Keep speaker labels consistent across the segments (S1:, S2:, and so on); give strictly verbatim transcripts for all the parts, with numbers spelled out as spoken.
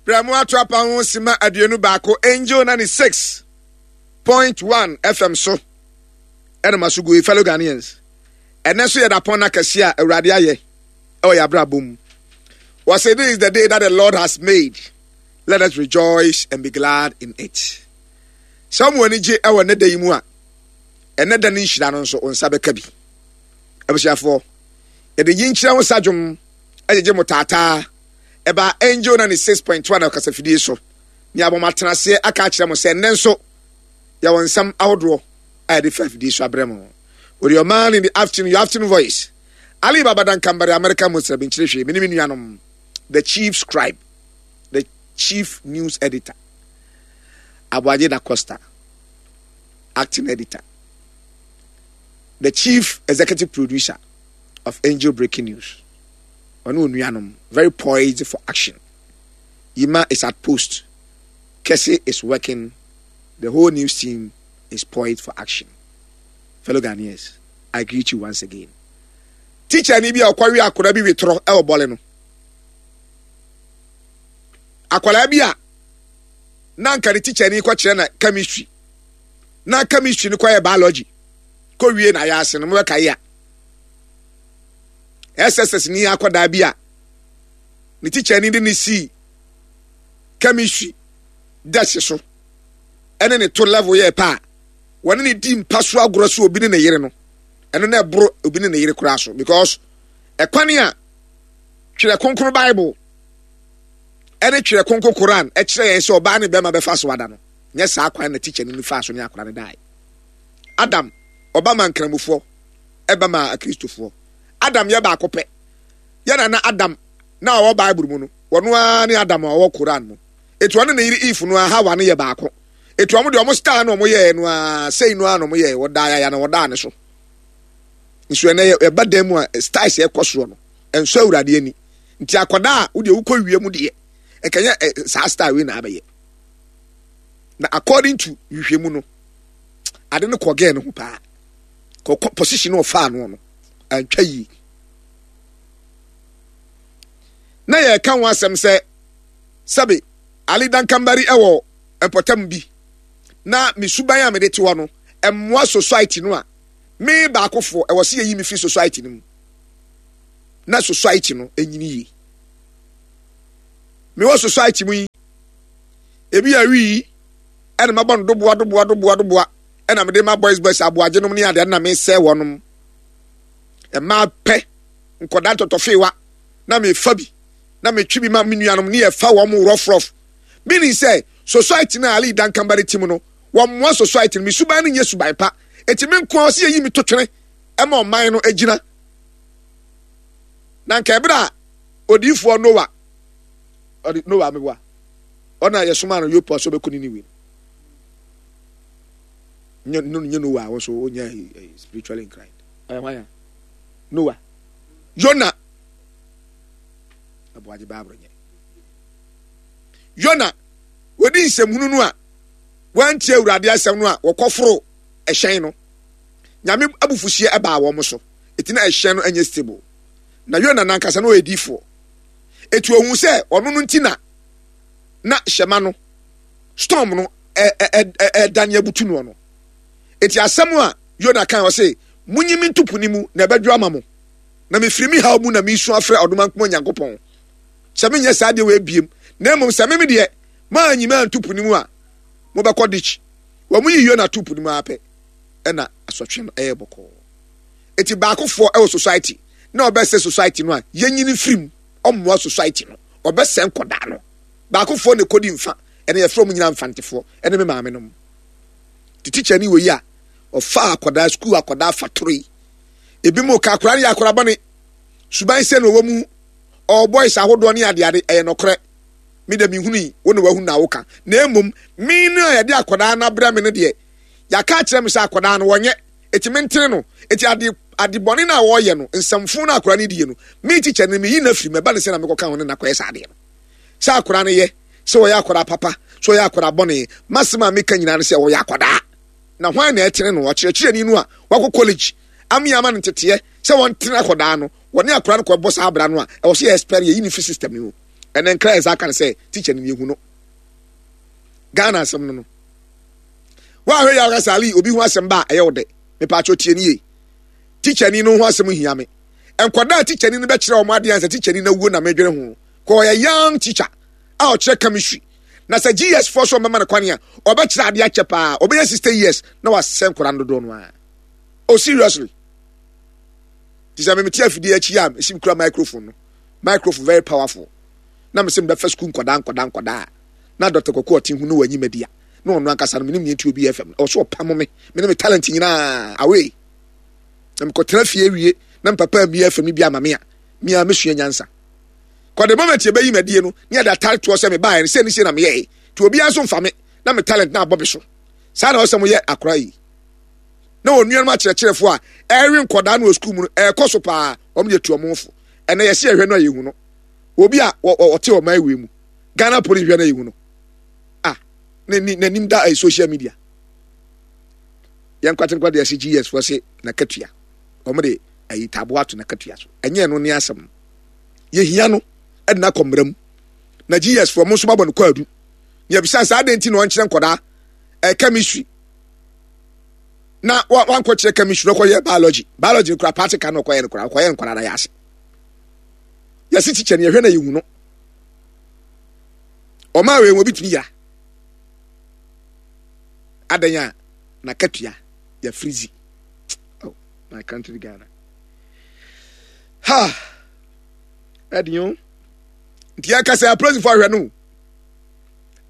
S1: Brɛ mo ato apa ho sima aduonu baako Angel ninety six point one F M so ɛna ma so gu yi. Fellow Ghanaians, ɛnɛ nso yɛ dapɔn na kɛse a Awurade ayɛ ɛwɔ yɛ abrabɔ mu. Wɔsɛ, "This is the day that the Lord has made. Let us rejoice and be glad in it." Sɛ wɔn ani gye ɛwɔ ne da yi mu a, ɛnɛ da ne nhyira no nso wɔn nsa bɛka bi. Abusuafoɔ, yɛde yi nkyerɛ ho sadwom ɛgyegye mo taataa ɛba Angel ninety six point one ɔkasafidie so ne abɔ mo atenaseɛ aka akyerɛ mo sɛ nnɛ nso yɛwɔ nsɛm ahodoɔ a yɛde fa afidie so abrɛ mo. With your man in the afternoon, your afternoon voice, Ali Babadan Kambari, American Muslim, nkyerɛ hwee mene me nuanom, the chief scribe, the chief news editor, Aboagye Da Costa, acting editor, the chief executive producer of Angel Breaking News. Ɔne onuanom very poised for action. Yima is at post, Kese is working, the whole news team is poised for action. Fellow Ghanaians, I greet you once again. Teacher ni bi a ɔkɔwe akwadaa bi wetorɔ ɛwɔ Bɔle no, akwadaa bi a na nka ne teacher ni kɔkyerɛ na chemistry, na chemistry no kɔyɛ biology kɔwie na ayɛ ase no, mobɛka yi a S S S ni akwadaa bi a ne teacher ni de ne sii chemistry desk so ɛne ne to level yɛ pa a wɔne ne di mpa so agorɔ so, obi ne ne yere no, ɛno na ɛboro obi ne ne yere koraa so, because ɛkwan a Twerɛ Kronkron Bible ɛne Twerɛ Kronkron Koran ɛkyerɛ yɛn sɛ ɔbaa ne bɛrima bɛfa so ada no, nyɛ saa kwan na teacher no fa so ne akora no dae. Adam ɔba ma nkramofoɔ, ɛba ma Akristofoɔ. Adam yɛ baako pɛ. Yɛ nana Adam na ɔwɔ Bible mu no, wɔno ara ne Adam a ɔwɔ Koran mu. Etu ɔne ne yere Eve no a, Hawa no yɛ baako. Etu ɔmo deɛ, ɔmo style na ɔmo yɛɛ no a, sei no a na ɔmo yɛɛ, wɔdaa yaya na wɔdaa ne so. Nso ɛnɛ yɛba dan mu a, styles ɛkɔ soɔ no ɛnso Awurade ani. Nti akwadaa a wodeɛ wokɔ wie mu deɛ, ɛkɛnyɛ ɛ saa style wei na abɛyɛ. Na according to nhwehwɛmu no, ade no kɔ gɛɛ no ho paa, kɔkɔ position no ɔfaa no no antwa yie. Na yɛka ho asɛm sɛ sɛbe Ali Dankambari ɛwɔ mpɔtam bi na me suban a mede te hɔ no ɛmmoa society no a, me baakofoɔ ɛwɔ sɛ yɛyi me firi society no mu na society no ɛnyini yie. Mewɔ society mu yi, ebi awi ɛna mabɔ no doboa doboa doboa doboa, ɛna mede ma boys boys aboagye nom ne adeɛ na mesɛ wɔnom mmaa pɛ nkɔda ntɔtɔfewa na mefa bi na metwe bi ma me nuanom ne yɛfa wɔn rough rough, meaning sɛ society no a Ali Dankambari ti mu no, wɔmmoa society no. Me suban no nyɛ suban pa, eti me nko a ɔsi yɛyi me to twene ɛma ɔman no agyina. Na nka ɛberɛ a odiifoɔ Noa, ɔde Noa meboa ɔna yɛsoma no Yopa so bɛkɔ Niniwe no, nye Noa a wɔn nso ɔnyɛ spiritually inclined, ɔyɛ hwan a Noa, Yona, Aboagye Baaburo, nyɛ Yona. Wɔdi nsɛmhunu no a wɔantie Awurade asɛm no a wɔkɔforo ɛhyɛn no, Nyame abufuhyeɛ ɛbaa wɔn so. Ɛti na ɛhyɛn no ɛnyɛ stable. Na Yona nankasa no ɔyɛ diifoɔ, ɛti ohun sɛ ɔno no nti na na hyɛma no storm no ɛdane abutu noɔ no. Ɛti asɛm a Yona kan, ɔse, "Munyi me nto po ne mu na ɛbɛdwo ama mo, na mefiri me haw mu na mesu afrɛ Ɔdomankoma Nyankopɔn sɛ menyɛ saa deɛ wɔ ebiem. Na mmom sɛ meme deɛ maanyi me anto po ne mu a, mobɛkɔ ditch." Wɔn yi Yona to po ne mu apɛ, ɛna asɔtwe no ɛyɛ bɔkɔɔ. Eti baakofoɔ ɛwɔ society na ɔbɛsɛ society no a, yɛnyini firi mu. Ɔmmoa society no, ɔbɛsɛ nkɔdaa no. Baakofoɔ na ɛkɔdi mfa ɛna yɛfrɛ ɔmo nyinaa mfantefoɔ ɛne me maame nom. Te teacher ni wɔ yi a ɔfa akɔdaa sukuu, akɔdaa fatoro yi, ebi mu ka akɔdaa no yɛ akɔdaa bɔne, suban sɛ na ɔwɔ mu, ɔwɔ boys ahodoɔ ne adeade. Ɛyɛ nɔkorɛ, me de mehunu yi, wo na wahu na woka. Na mmom me no a yɛde akɔdaa no abrɛ me no deɛ, yɛaka akyerɛ me sɛ akɔdaa no wɔnyɛ, eti me ntene no. Eti ade ade bɔne no a wɔreyɛ no, nsɛmfo no akɔdaa no die no, me teacher no meyi no afiri mu. Ɛba ne sɛ na mekɔka ho ne nakɔyɛ saa adeɛ no sɛ akɔdaa no yɛ sɛ ɔyɛ akɔdaa papa, sɛ ɔyɛ akɔdaa bɔne, masɛm a meka nyinaa no sɛ ɔyɛ akɔdaa. Na hwan na ɛtene no? Ɔkyerɛkyerɛni no a wakɔ college ame ama no nteteɛ sɛ wɔntene akɔdaa no, wɔne akɔdaa no kɔbɔ saa abra no a, ɛwɔ sɛ yɛ expel, yɛyi ne fi system no mu. Ɛnɛ nkra yɛ saa ka no sɛ teacher no yɛhu no. Ghana asɛm no no. Woahwɛ yɛ aka Ali obi ho asɛm ba a ɛyɛ wo dɛ. Mepaakyɛw tie ne yie. Teacher ni no ho asɛm hia me. Nkwadaa teacher ni no bɛkyerɛ wɔn adeɛ ansa teacher ni no awuo na medwene ho. Kɔ ɔyɛ young teacher a ɔkyerɛ chemistry. Na sɛ G S foɔ so ɔbɛma no kwan a ɔbɛkyerɛ adeɛ akyɛ paa, ɔbɛyɛ sixty years na wasɛ nkwadaa no dodoɔ no ara. Oh, seriously. Ti sɛ memete afidie akyi a mesi kura microphone no, microphone very powerful, na mesɛ mebɛfa sukuu nkwadaa nkwadaa nkwadaa na Doctor Kɔkɔ ɔte hu no wɔ anyim adi a na ɔno ankasa no menim neɛ nti obi F M no ɔwɔ so ɔpam me, me ne me talent nyinaa away na mekɔtena fie awie na mpapa mi F M no bi ama me a mea mesua nyansa. Kɔ the moment yɛbɛyi madie no ne yɛde atare toɔ sɛ mebaeɛ no sɛ ne sie na meyɛe nti obiara nso mfa me na me talent na abɔ me so. Saa na ɔsɛ moyɛ akora yi na wɔn nuanom akyerɛkyerɛfoɔ a ɛrewe nkɔdaa no wɔ sukuu mu no ɛrekɔ so paa. Wɔn de atu wɔn fo. Ɛnɛ yɛsi ɛhwɛ no a yɛhu no obi a ɔte ɔman wei mu, Ghana Police hwɛ no a yɛhu no a n'anim da ɛyɛ social media. Yɛn nkwate nkwa de ɛsi G S foɔ se n'akatua wɔn de ayi taabo ato n'akatua so. Ɛnyɛ ɛno ne asɛm no. Yɛhia no ɛde n'akɔ mmara mu na G S foɔ mo nso babɔ no kwaadu na yɛbisa saa adan ti na ɔnkyerɛ nkɔdaa ɛɛ chemistry na wankɔkyerɛ chemistry na ɔkɔyɛ biology. Biology no kora practical na ɔkɔyɛ no kora ɔkɔyɛ nkɔdaa na yɛ ase yɛsi teacher no yɛhwɛ na yɛhu no ɔmaa wei wɔn bi tumi yira adan a n'akatua yɛ freeze. Oh, my country Ghana ha, ɛdi o. Nti yɛka sɛ apolisifoɔ ahwɛ no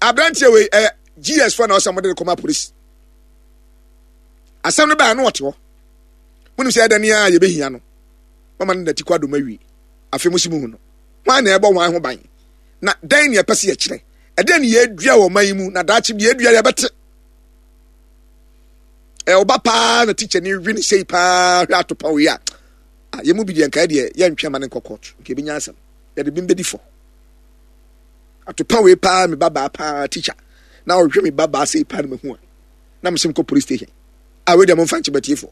S1: aberanteɛ wei ɛyɛ G S foɔ na ɔsɛ mo de kɔma polisi. Asɛm no baa no ɔte hɔ monim sɛ ɛdɛ ne a yɛbɛhia no mama no nati kɔ adom awie. Afei mo si mu hu no hwan na ɛbɔ hwan ho ban na dɛn ne ɛpɛ sɛ yɛkyerɛ ɛdɛn ne yɛadua wɔ ɔman yi mu na daakye bi yɛadua yɛbɛte ɛwɔ ba paa na teacher ni wi ne sei paa. Hwɛ atopa wei a yɛn mu bi deɛ nkae deɛ yɛntwɛn ma ne nkɔ court nka ebi nya asɛm yɛde bi mbɛdi fɔ. Atopa wei paa, me ba baa paa teacher na ɔhwɛ me ba baa sei paa na mehu a na mesɛ mkɔ police station a wei deɛ momfa nkyɛ bɛtie fɔ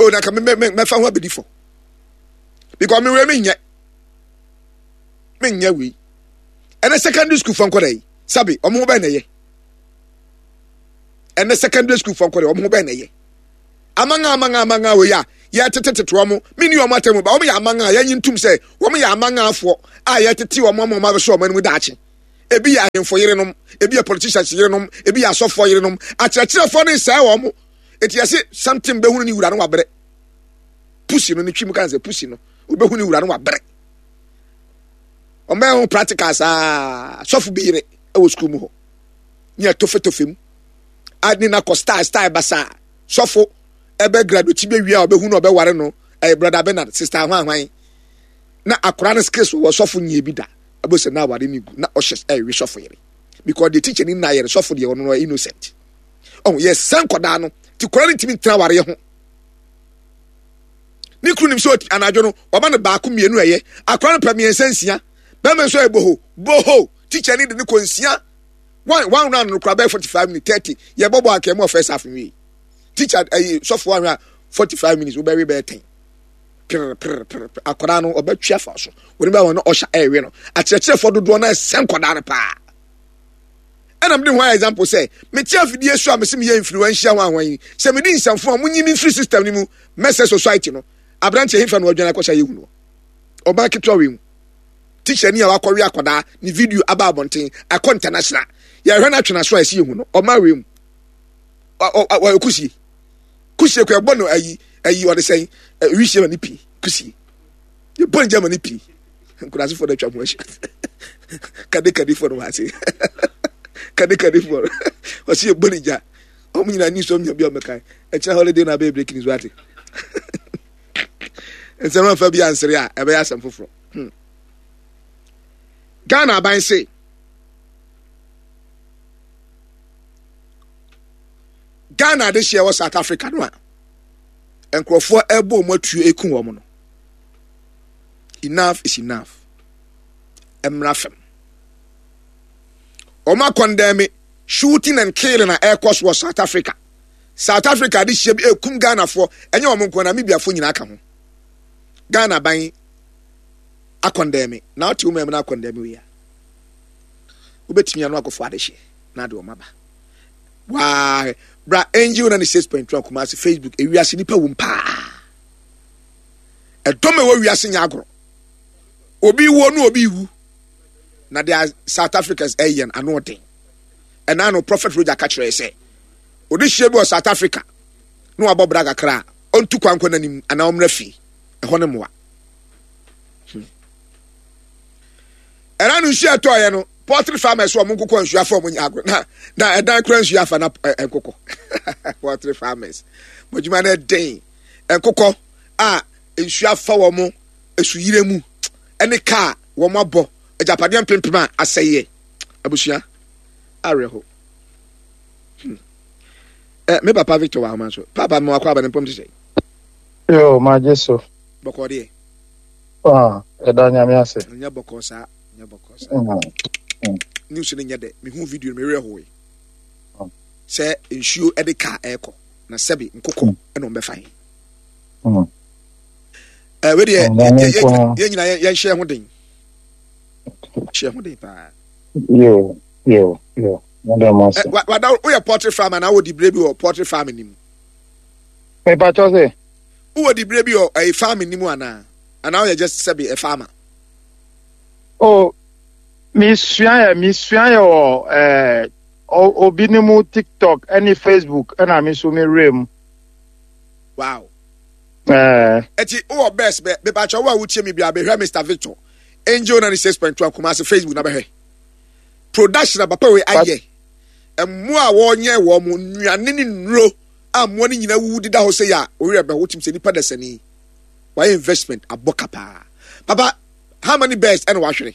S1: o na ka mɛfa ho abɛdi fɔ because me wei menyɛ menyɛ wei. Ɛnɛ secondary school fɔ nkɔda yi sabi ɔmo ho bɛn na ɛyɛ. Ɛnɛ secondary school fɔ nkɔda ɔmo ho bɛn na ɛyɛ. Amanga amanga amanga wei a yɛtetetete wɔn mini wɔn atɛmu ba wɔn yɛ amanga a yɛnyi ntum sɛ wɔn yɛ amangafoɔ a yɛtete wɔn ama wɔn abɛsɔ wɔn anim daakye. Ebi yɛ ahemfo yerenom, ebi yɛ politicians yerenom, ebi yɛ asɔfoɔ yerenom. Akyerɛkyerɛfoɔ ne nsɛɛ wɔn eti yɛsi something bɛhunu ne wura no wabrɛ pusi no ne twi mu kan sɛ pusi no obɛhu ne wura no wabrɛ. Wɔn bɛyɛ ho practical saa. Sɔfo bi yere ɛwɔ sukuu mu hɔ ne yɛ tofetofe mu a ne na kɔ style style basaa. Sɔfo ɛbɛ graduate bɛ wie a ɔbɛhu no ɔbɛware no ɛyɛ Brother Bernard, Sister ahwanhwan na akora no skills wɔ sɔfo nyɛ bi da ɛbɛ sɛ na aware ne gu na ɔhyɛ ɛyɛ sɔfo yere because the teacher ni na yɛrɛ sɔfo deɛ ɔno no innocent. Ɔho yɛ sɛn nkɔdaa no ti kora no ntumi ntena awareɛ ho. Ne kuru nim sɛ anadwo no ɔba no baako mmienu, ɛyɛ akora no pɛ mmiɛnsa nsia. Bɛrima nso yɛ boho boho. Teacher ni de ne kɔ nsia one one round no kora bɛyɛ forty five minutes, thirty. Yɛ bɔ bɔ akɛmu ɔfɛ saf nwie teacher ɛyi sɔfo ahwɛ a forty five minutes wobɛwe bɛyɛ ten pere pere pere. Akwadaa no ɔbɛtwi afa so wɔn bɛ wɔn no ɔhyɛ ɛɛwe no. Akyerɛkyerɛfoɔ dodoɔ no ɛsɛ nkwadaa no paa. Ɛna mede ho ayɛ example sɛ mete afidie so a mese meyɛ influential ho ahwan yi sɛ mede nsɛmfo a monyi me mfiri system no mu mɛsɛ society no. Aberanteɛ hefa na wadwane akɔhyɛ yɛhu no ɔbaa ketewa wei mu teacher ni a wakɔwe akwadaa ne video aba abɔnten akɔ international. Yɛhwɛ no atwena so a ɛsi yɛhu no ɔmaa wei mu ɔyɛ kusie kusie kɔ ɛbɔ no ayi ayi ɔde sɛn wisie ma ne pii kusie yɛbɔ ne gya ma ne pii. Nkurasefoɔ no atwa ho ahyia kade kadefoɔ no wɔ ase kade kadefoɔ no ɔsi yɛbɔ ne gya. Ɔmo nyinaa ni sɔm nya bi a ɔmɛkan ɛkyerɛ holiday na abɛyɛ breaking news. Wate nsɛm afa bi ansere a ɛbɛyɛ asɛm foforɔ. hmm. Ghana aban se Ghana adehyeɛ wɔ South Africa no a nkurɔfoɔ ɛbɔ wɔn atuo eku wɔn no, enough is enough. Mmra fam. Wɔn akɔndɛmi shooting and killing a ɛrekɔ so wɔ South Africa. South Africa adehyeɛ bi ekum Ghanafoɔ. Ɛnyɛ wɔn nko, Namibiafoɔ nyinaa ka ho. Ghana aban Akɔndɛmi na wote wo man mu na akɔndɛmi wei a, wobɛtumi ano akɔfo adehyeɛ na ade ɔma ba. Waa bra Angel ninety six point one Kumasi Facebook. Ewiase nipa wom paa. Ɛdɔm a ɛwɔ wiase nyɛ agorɔ. Obi wuo no, obi wu na deɛ South Africans ɛyɛ no ano ɔden. Ɛna no Prophet Roger ka kyerɛ sɛ ɔde hyia bi wɔ South Africa na wabɔ bra kakra a, ɔntu kwan kɔ n'anim anaa ɔmmra fie ɛhɔ ne mmoa. hmm. Ɛna no nsuo ɛtɔɔyɛ no, poultry farmers wɔn nkokɔ nsuo afa wɔn nyɛ agorɔ na na ɛdan kora nsuo afa na nkokɔ. Poultry farmers, mo adwuma no ɛden. Nkokɔ a nsuo afa wɔn esuyire mu ɛne kaa wɔn abɔ agyapadeɛ mpempem a asɛeɛ. Abusua awerɛho. hmm. eh, me papa Victor wɔ ahoma so. Papa, me wakɔ aba ne mpɔm te sɛ
S2: Yo, magye so.
S1: Bɔkɔɔ deɛ?
S2: Ah, ɛda Nyame ase.
S1: Nyɛ bɔkɔɔ saa, nyɛ bɔkɔɔ saa. mm. mm. News no nyɛ dɛ. Mehu video no, mewerɛ hoe mm. sɛ nsuo de kaa ɛrekɔ na sɛbe nkokɔ mm. ɛna ɔmbɛfa he. mm. eh, wei deɛ, yɛn nyinaa yɛnhyɛ ho den, hyɛ ho den paa.
S2: Yo, yo, yo, meda mo ase.
S1: Wada, woyɛ poultry farm anaa wɔ dibire bi wɔ poultry farm ni mu?
S2: Mepatɔ sɛ
S1: wowɔ dibire bi wɔ ɛyɛ farm ni mu anaa anaa woyɛ just sɛbe ɛ farmer?
S2: Oh, mesua yɛ mesua yɛ wɔ ɛɛ obi ne mu TikTok ɛne Facebook, ɛna me nso mewura mu.
S1: Wow.
S2: Ɛɛ.
S1: Ɛti wowɔ best bɛ mepakyɛ wo a wotie mi bia, bɛhwɛ Mister Victor, Angel ninety six point two Kumasi Facebook na bɛhwɛ production a papa wei ayɛ. Mmoa a wɔnyɛ wɔn mo nnuane ne nnuro a mmoa no nyinaa wuwu deda hɔ sɛ yɛ a oyɛ bɛ wotim sɛ nipa dasani wayɛ investment abɔ ka paa. Papa, how many birds ɛna wahwere?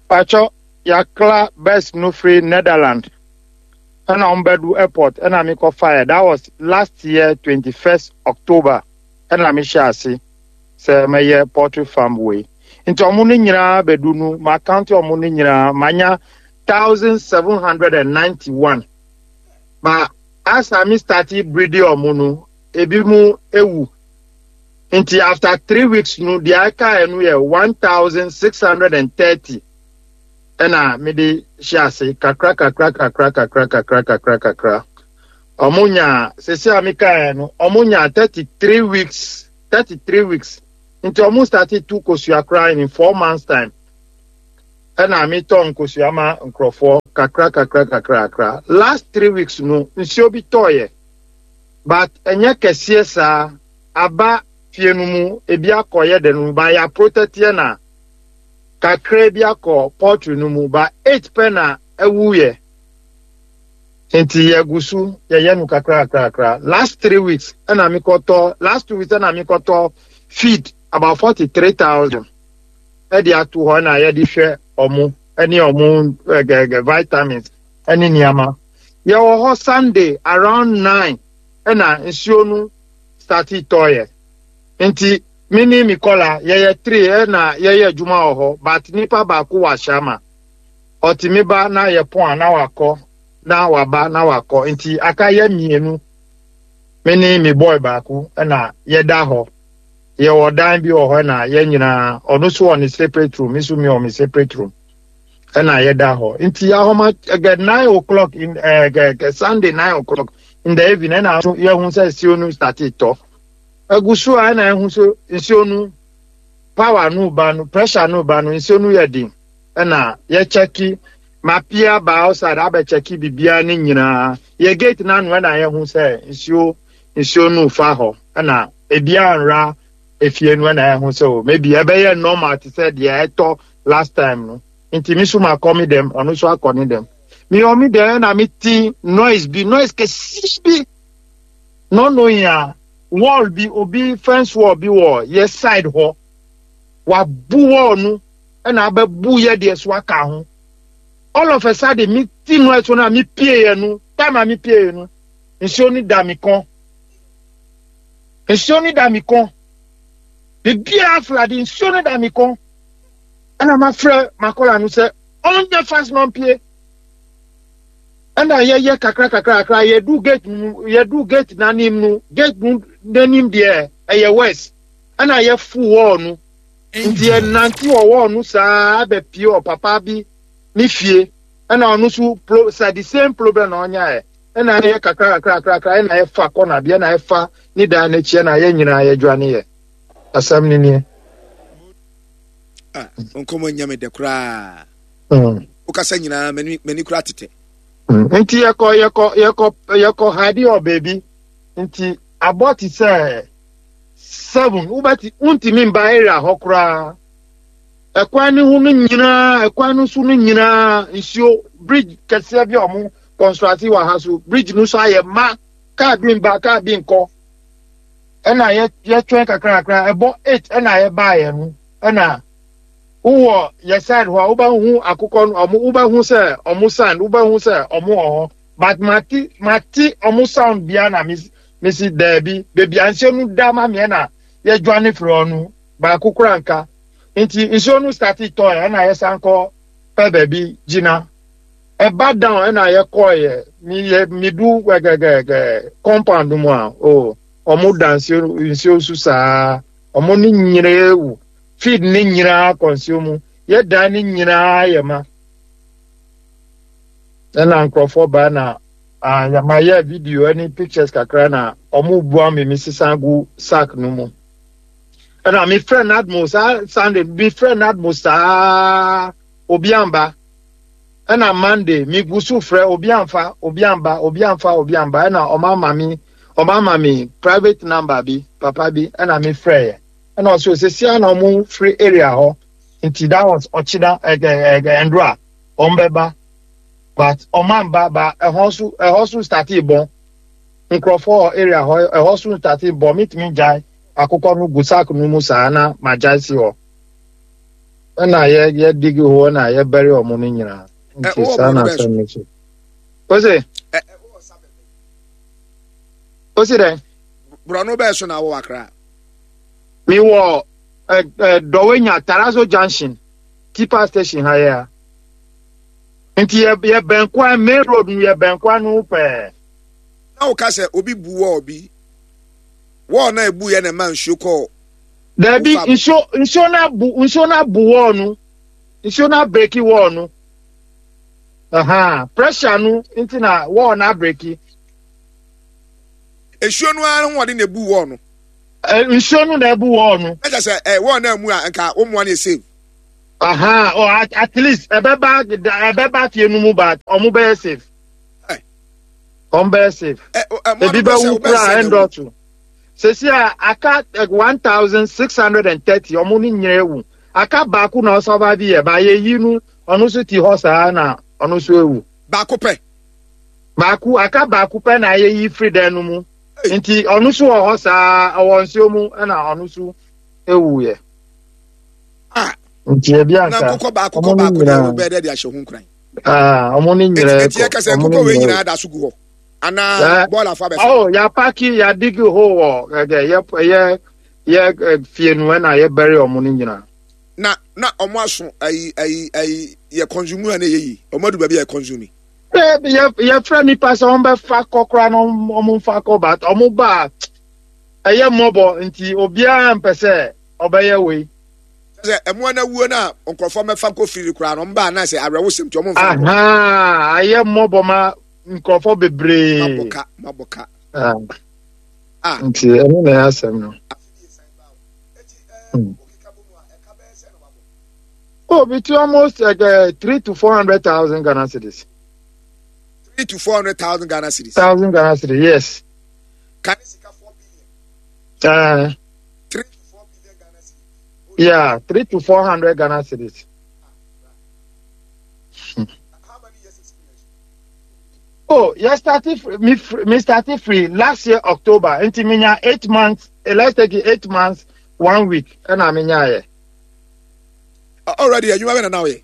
S2: Pakyɛ, yakla birds no firi Netherland ɛna wɔn bɛdu airport ɛna mi kɔ fire. That was last year, twenty first October, ɛna mi hyɛ ase sɛ mɛyɛ poultry farm wei. Nti ɔmo no nyinaa bɛdu no, ma count ɔmo no nyinaa, manya thousand seven hundred and ninety one. Ba asa mi start breeding ɔmo no, ebi mu ewu. Nti after three weeks no, deɛ aka yɛ no yɛ one thousand six hundred and thirty. Ɛna mede hyɛ ase kakra kakra kakra kakra kakra kakra kakra. Ɔmo nya sese a meka yɛ no, ɔmo nya thirty three weeks, thirty three weeks. Nti ɔmo start tu kosua koraa in four months time. Ɛna metɔ nkosua ma nkurɔfoɔ kakra kakra kakra kakra. Last three weeks no, nsuo bi tɔɔyɛ, but ɛnyɛ kɛseɛ saa. Aba fie no mu, ebi akɔyɛ de no ba yɛ protect na kakra bi akɔ poultry no mu, ba eight pɛ na ɛwuyɛ. Nti yɛgu so yɛyɛ no kakra kakra kakra. Last three weeks ɛna mekɔtɔ, last two weeks ɛna mekɔtɔ feed about forty three thousand ɛde ato hɔ na yɛde hwɛ ɔmo ɛne ɔmo ɛgɛgɛ vitamins ɛne nneɛma. Yɛwɔ hɔ Sunday around nine ɛna nsuo no start tɔɔyɛ. Nti me ne mi kɔla yɛyɛ three ɛna yɛyɛ adwuma wɔ hɔ, but nipa baako wɔ ahyɛama, ɔtumi ba na yɛ pɔn a na wakɔ, na waba na wakɔ. Nti aka yɛ mmienu, me ne mi boy baako, ɛna yɛda hɔ. Yɛwɔ dan bi wɔ hɔ na yɛn nyinaa, ɔno nso wɔ ne separate room, me nso mi wɔ me separate room, ɛna yɛda hɔ. Nti ahoma ɛgɛ nine o'clock in ɛgɛ Sunday nine o'clock in the evening ɛna yɛhu sɛ nsuo no start tɔ egu so a, ɛna ɛhu so nsuo no power no ba no, pressure no ba no, nsuo no yɛ den. Ɛna yɛkyɛki mapia ba outside abɛkyɛki biribiara ne nyinaa. Yɛ gate n'ano ɛna yɛhu sɛ nsuo nsuo no fa hɔ, ɛna ebiara nra efie no. Ɛna yɛhu sɛ o, maybe ɛbɛyɛ normal te sɛ deɛ ɛtɔ last time no. Nti mi nso ma kɔ mi dɛm, ɔno nso akɔ ne dɛm. Mi wɔ mi dɛm ɛna mi ti noise bi, noise kɛseɛ bi. No knowing a wall bi, obi fence wall bi wɔ yɛ side hɔ, wabu wall no ɛna abɛbu yɛ deɛ so aka ho. All of a sudden mi ti noise no a mi pie yɛ no, time a mi pie yɛ no, nsuo no da mi kɔn, nsuo no da mi kɔn, biribiara flood, nsuo no da mi kɔn. Ɛna ma frɛ makɔla no sɛ ɔnyɛ fast na ɔmpie. Ɛna yɛyɛ kakra kakra kakra, yɛdu gate mu, yɛdu gate n'anim no, gate no n'anim deɛ ɛyɛ west, ɛna yɛfu wall no. Nti yɛnante wɔ wall no saa bɛpie wɔ papa bi ne fie, ɛna ɔno nso pro sa the same problem na ɔnyaeɛ. Ɛna yɛ kakra kakra kakra ɛna yɛfa kɔna bi, ɛna yɛfa ne dan n'akyi, ɛna yɛn nyinaa yɛdwane yɛ. Asɛm ne nie.
S1: Ah, nkɔmɔ nya me dɛ koraa.
S2: Mm.
S1: Wokasa nyinaa m'ani m'ani koraa tetɛ.
S2: Mm. Nti yɛkɔ yɛkɔ yɛkɔ yɛkɔ hide wɔ baabi. Nti abɔ te sɛ seven, wobɛti wontumi mba area hɔ koraa. Ɛkwan ne ho no nyinaa, ɛkwan no so no nyinaa nsuo. Bridge kɛseɛ bi a ɔmo construct wɔ ha so, bridge no so ayɛ ma kaa bi mba, kaa bi nkɔ. Ɛna yɛ yɛtwɛn kakra kakra, ɛbɔ eight ɛna yɛbaayɛ no. Ɛna wowɔ yɛ side hɔ a, wobɛhu akokɔ no, ɔmo wobɛhu sɛ ɔmo sound, wobɛhu sɛ ɔmo wɔ hɔ, but mate mate ɔmo sound bia na mesi mesi daabi, beebi a nsuo no da ma meɛ na yɛdwane firi hɔ no, baako kora nka. Nti nsuo no start tɔɔ, ɛna yɛsan kɔ pɛ baabi gyina. Ɛba down, ɛna yɛkɔɔyɛ mi yɛ midu gɛgɛgɛgɛ compound mu a, o ɔmo da nsuo nsuo so saa. Ɔmo ne nyinaa ewu, feed ne nyinaa kɔ nsuo mu, yɛ dan ne nyinaa yɛ ma. Ɛna nkurɔfoɔ baa na ah, yɛmayɛ video ne pictures kakra na ɔmo bua me, me sesa gu sack no mu. Ɛna mefrɛ NADMO saa Sunday, mefrɛ NADMO saa, obi amba. Ɛna Monday megu so frɛ, obi amfa, obi amba, obi amfa, obi amba. Ɛna ɔmo ama me ɔmo ama me private number bi, papa bi, ɛna mefrɛ yɛ, ɛna ɔsɛ osisia na ɔmo firi area hɔ. Nti that was ɔkyina ɛgɛ ɛgɛ ndora ɔmo bɛba, but ɔmo amba ba. Ɛhɔ so ɛhɔ so start bɔn nkurɔfoɔ wɔ area hɔ, ɛhɔ so start bɔn. Mitumi gyae akokɔ no gu sack no mu saa na ma gyae si hɔ, ɛna yɛ yɛ dig hɔ na yɛ bury ɔmo no nyinaa.
S1: Ɛ,
S2: Nti
S1: wowɔ
S2: saa
S1: borɔno
S2: na
S1: bɛn so?
S2: asɛm no so ose.
S1: Ɛ, ɛ, wowɔ sa bɛbɛ.
S2: Ose dɛ?
S1: Borɔno bɛɛ so na wowɔ Akra?
S2: Mewɔ ɛ ɛ Dɔwɛnya Tarazo Junction, Tipa station ha yɛ a. Nti yɛ yɛ bɛn kwan, main road no, yɛ bɛn kwan no pɛɛ.
S1: Na woka sɛ obi bu wall bi, wall na ebu yɛ na ɛma nsuo kɔɔ.
S2: Dabi.
S1: Wofa-
S2: Nsuo nsuo na bu nsuo na bu wall no, nsuo na break wall no. Aha, pressure no nti na wall na break.
S1: Nsuo no ara ho ɔde na ebu wall no?
S2: Ɛ, nsuo no na ebu wall no.
S1: Na kyerɛ sɛ ɛ wall na mu a nka wo mmoa no yɛ save.
S2: Aha, oh, at, at least ɛbɛba ɛbɛba fie no mu, but ɔmo bɛyɛ safe.
S1: Ɛ.
S2: Ɔmo bɛyɛ safe.
S1: Ɛ ɛ mmoa
S2: Ebi
S1: no bɛ sɛ
S2: bɛwu
S1: wobɛ
S2: kura
S1: sɛ na ewu.
S2: Ɛndɔɔso sesi a aka one thousand six hundred and thirty, ɔmo ne nyinaa ewu. Aka baako na ɔsurvive yɛ ba yɛyi no, ɔno nso ti hɔ saa na ɔno nso ewu.
S1: Baako pɛ?
S2: Baako aka, baako pɛ na yɛyi firi dan no mu.
S1: Ei.
S2: Nti ɔno nso wɔ hɔ saa, ɔwɔ nsuo mu, ɛna ɔno nso ewu yɛ.
S1: Ah.
S2: Nti ebi
S1: Na
S2: anka
S1: nkokɔ baako
S2: ɔmo
S1: kɔ
S2: ne
S1: baako deɛ,
S2: nyinaa
S1: wobɛyɛ dɛ de ahyɛ ho nkuran.
S2: Aa, ɔmo ne
S1: eti
S2: nyinaa
S1: eti
S2: kɔ
S1: yɛka sɛ
S2: ɔmo ne
S1: nkokɔ wei
S2: nyinaa.
S1: Nyinaa da so gu hɔ anaa
S2: Ɛ,
S1: bɔɔl afa bɛfa?
S2: Oh, yɛapack, yɛadig hole wɔ ɛdɛ yɛ yɛ yɛ ɛ, fie no, ɛna yɛbury ɔmo no nyinaa.
S1: Na na ɔmo aso ayi ayi ayi yɛ consume a, na ɛyɛ yi ɔmo adu baabi a yɛ consume.
S2: Ɛ, yɛ yɛfrɛ nipa sɛ ɔmo bɛfa kɔ koraa na ɔmo ɔmo mfa kɔ, but ɔmo ba a, ɛyɛ mmɔbɔ nti obiara mpɛ sɛ ɔbɛyɛ wei.
S1: Sɛ ɛmoa no awuo no a, nkurɔfoɔ mɛfa nkɔ firi koraa no, ɔmo baa na sɛ awerɛwosɛm nti ɔmo mfa nkɔ.
S2: Aha, ayɛ mmɔbɔ ma nkurɔfoɔ bebree.
S1: Mabɔ ka, mabɔ ka.
S2: Ah,
S1: ah.
S2: Nti ɛno na ɛyɛ asɛm no. Mm. Oh, between almost like uh, three to four hundred thousand Ghana cedis.
S1: Three to four hundred thousand Ghana cedis?
S2: Thousand Ghana cedis, yes.
S1: Ka ne sika four billion.
S2: Uh,
S1: Three to four billion Ghana cedis?
S2: Yeah, three to four hundred Ghana cedis.
S1: How many years experience?
S2: Oh, yeah, started fr- me fr- me started free last year October. Nti me nya eight months. eh, Let's take it eight months, one week. And I mean, yeah.
S1: Uh, already adwuma bɛ na na woyɛ?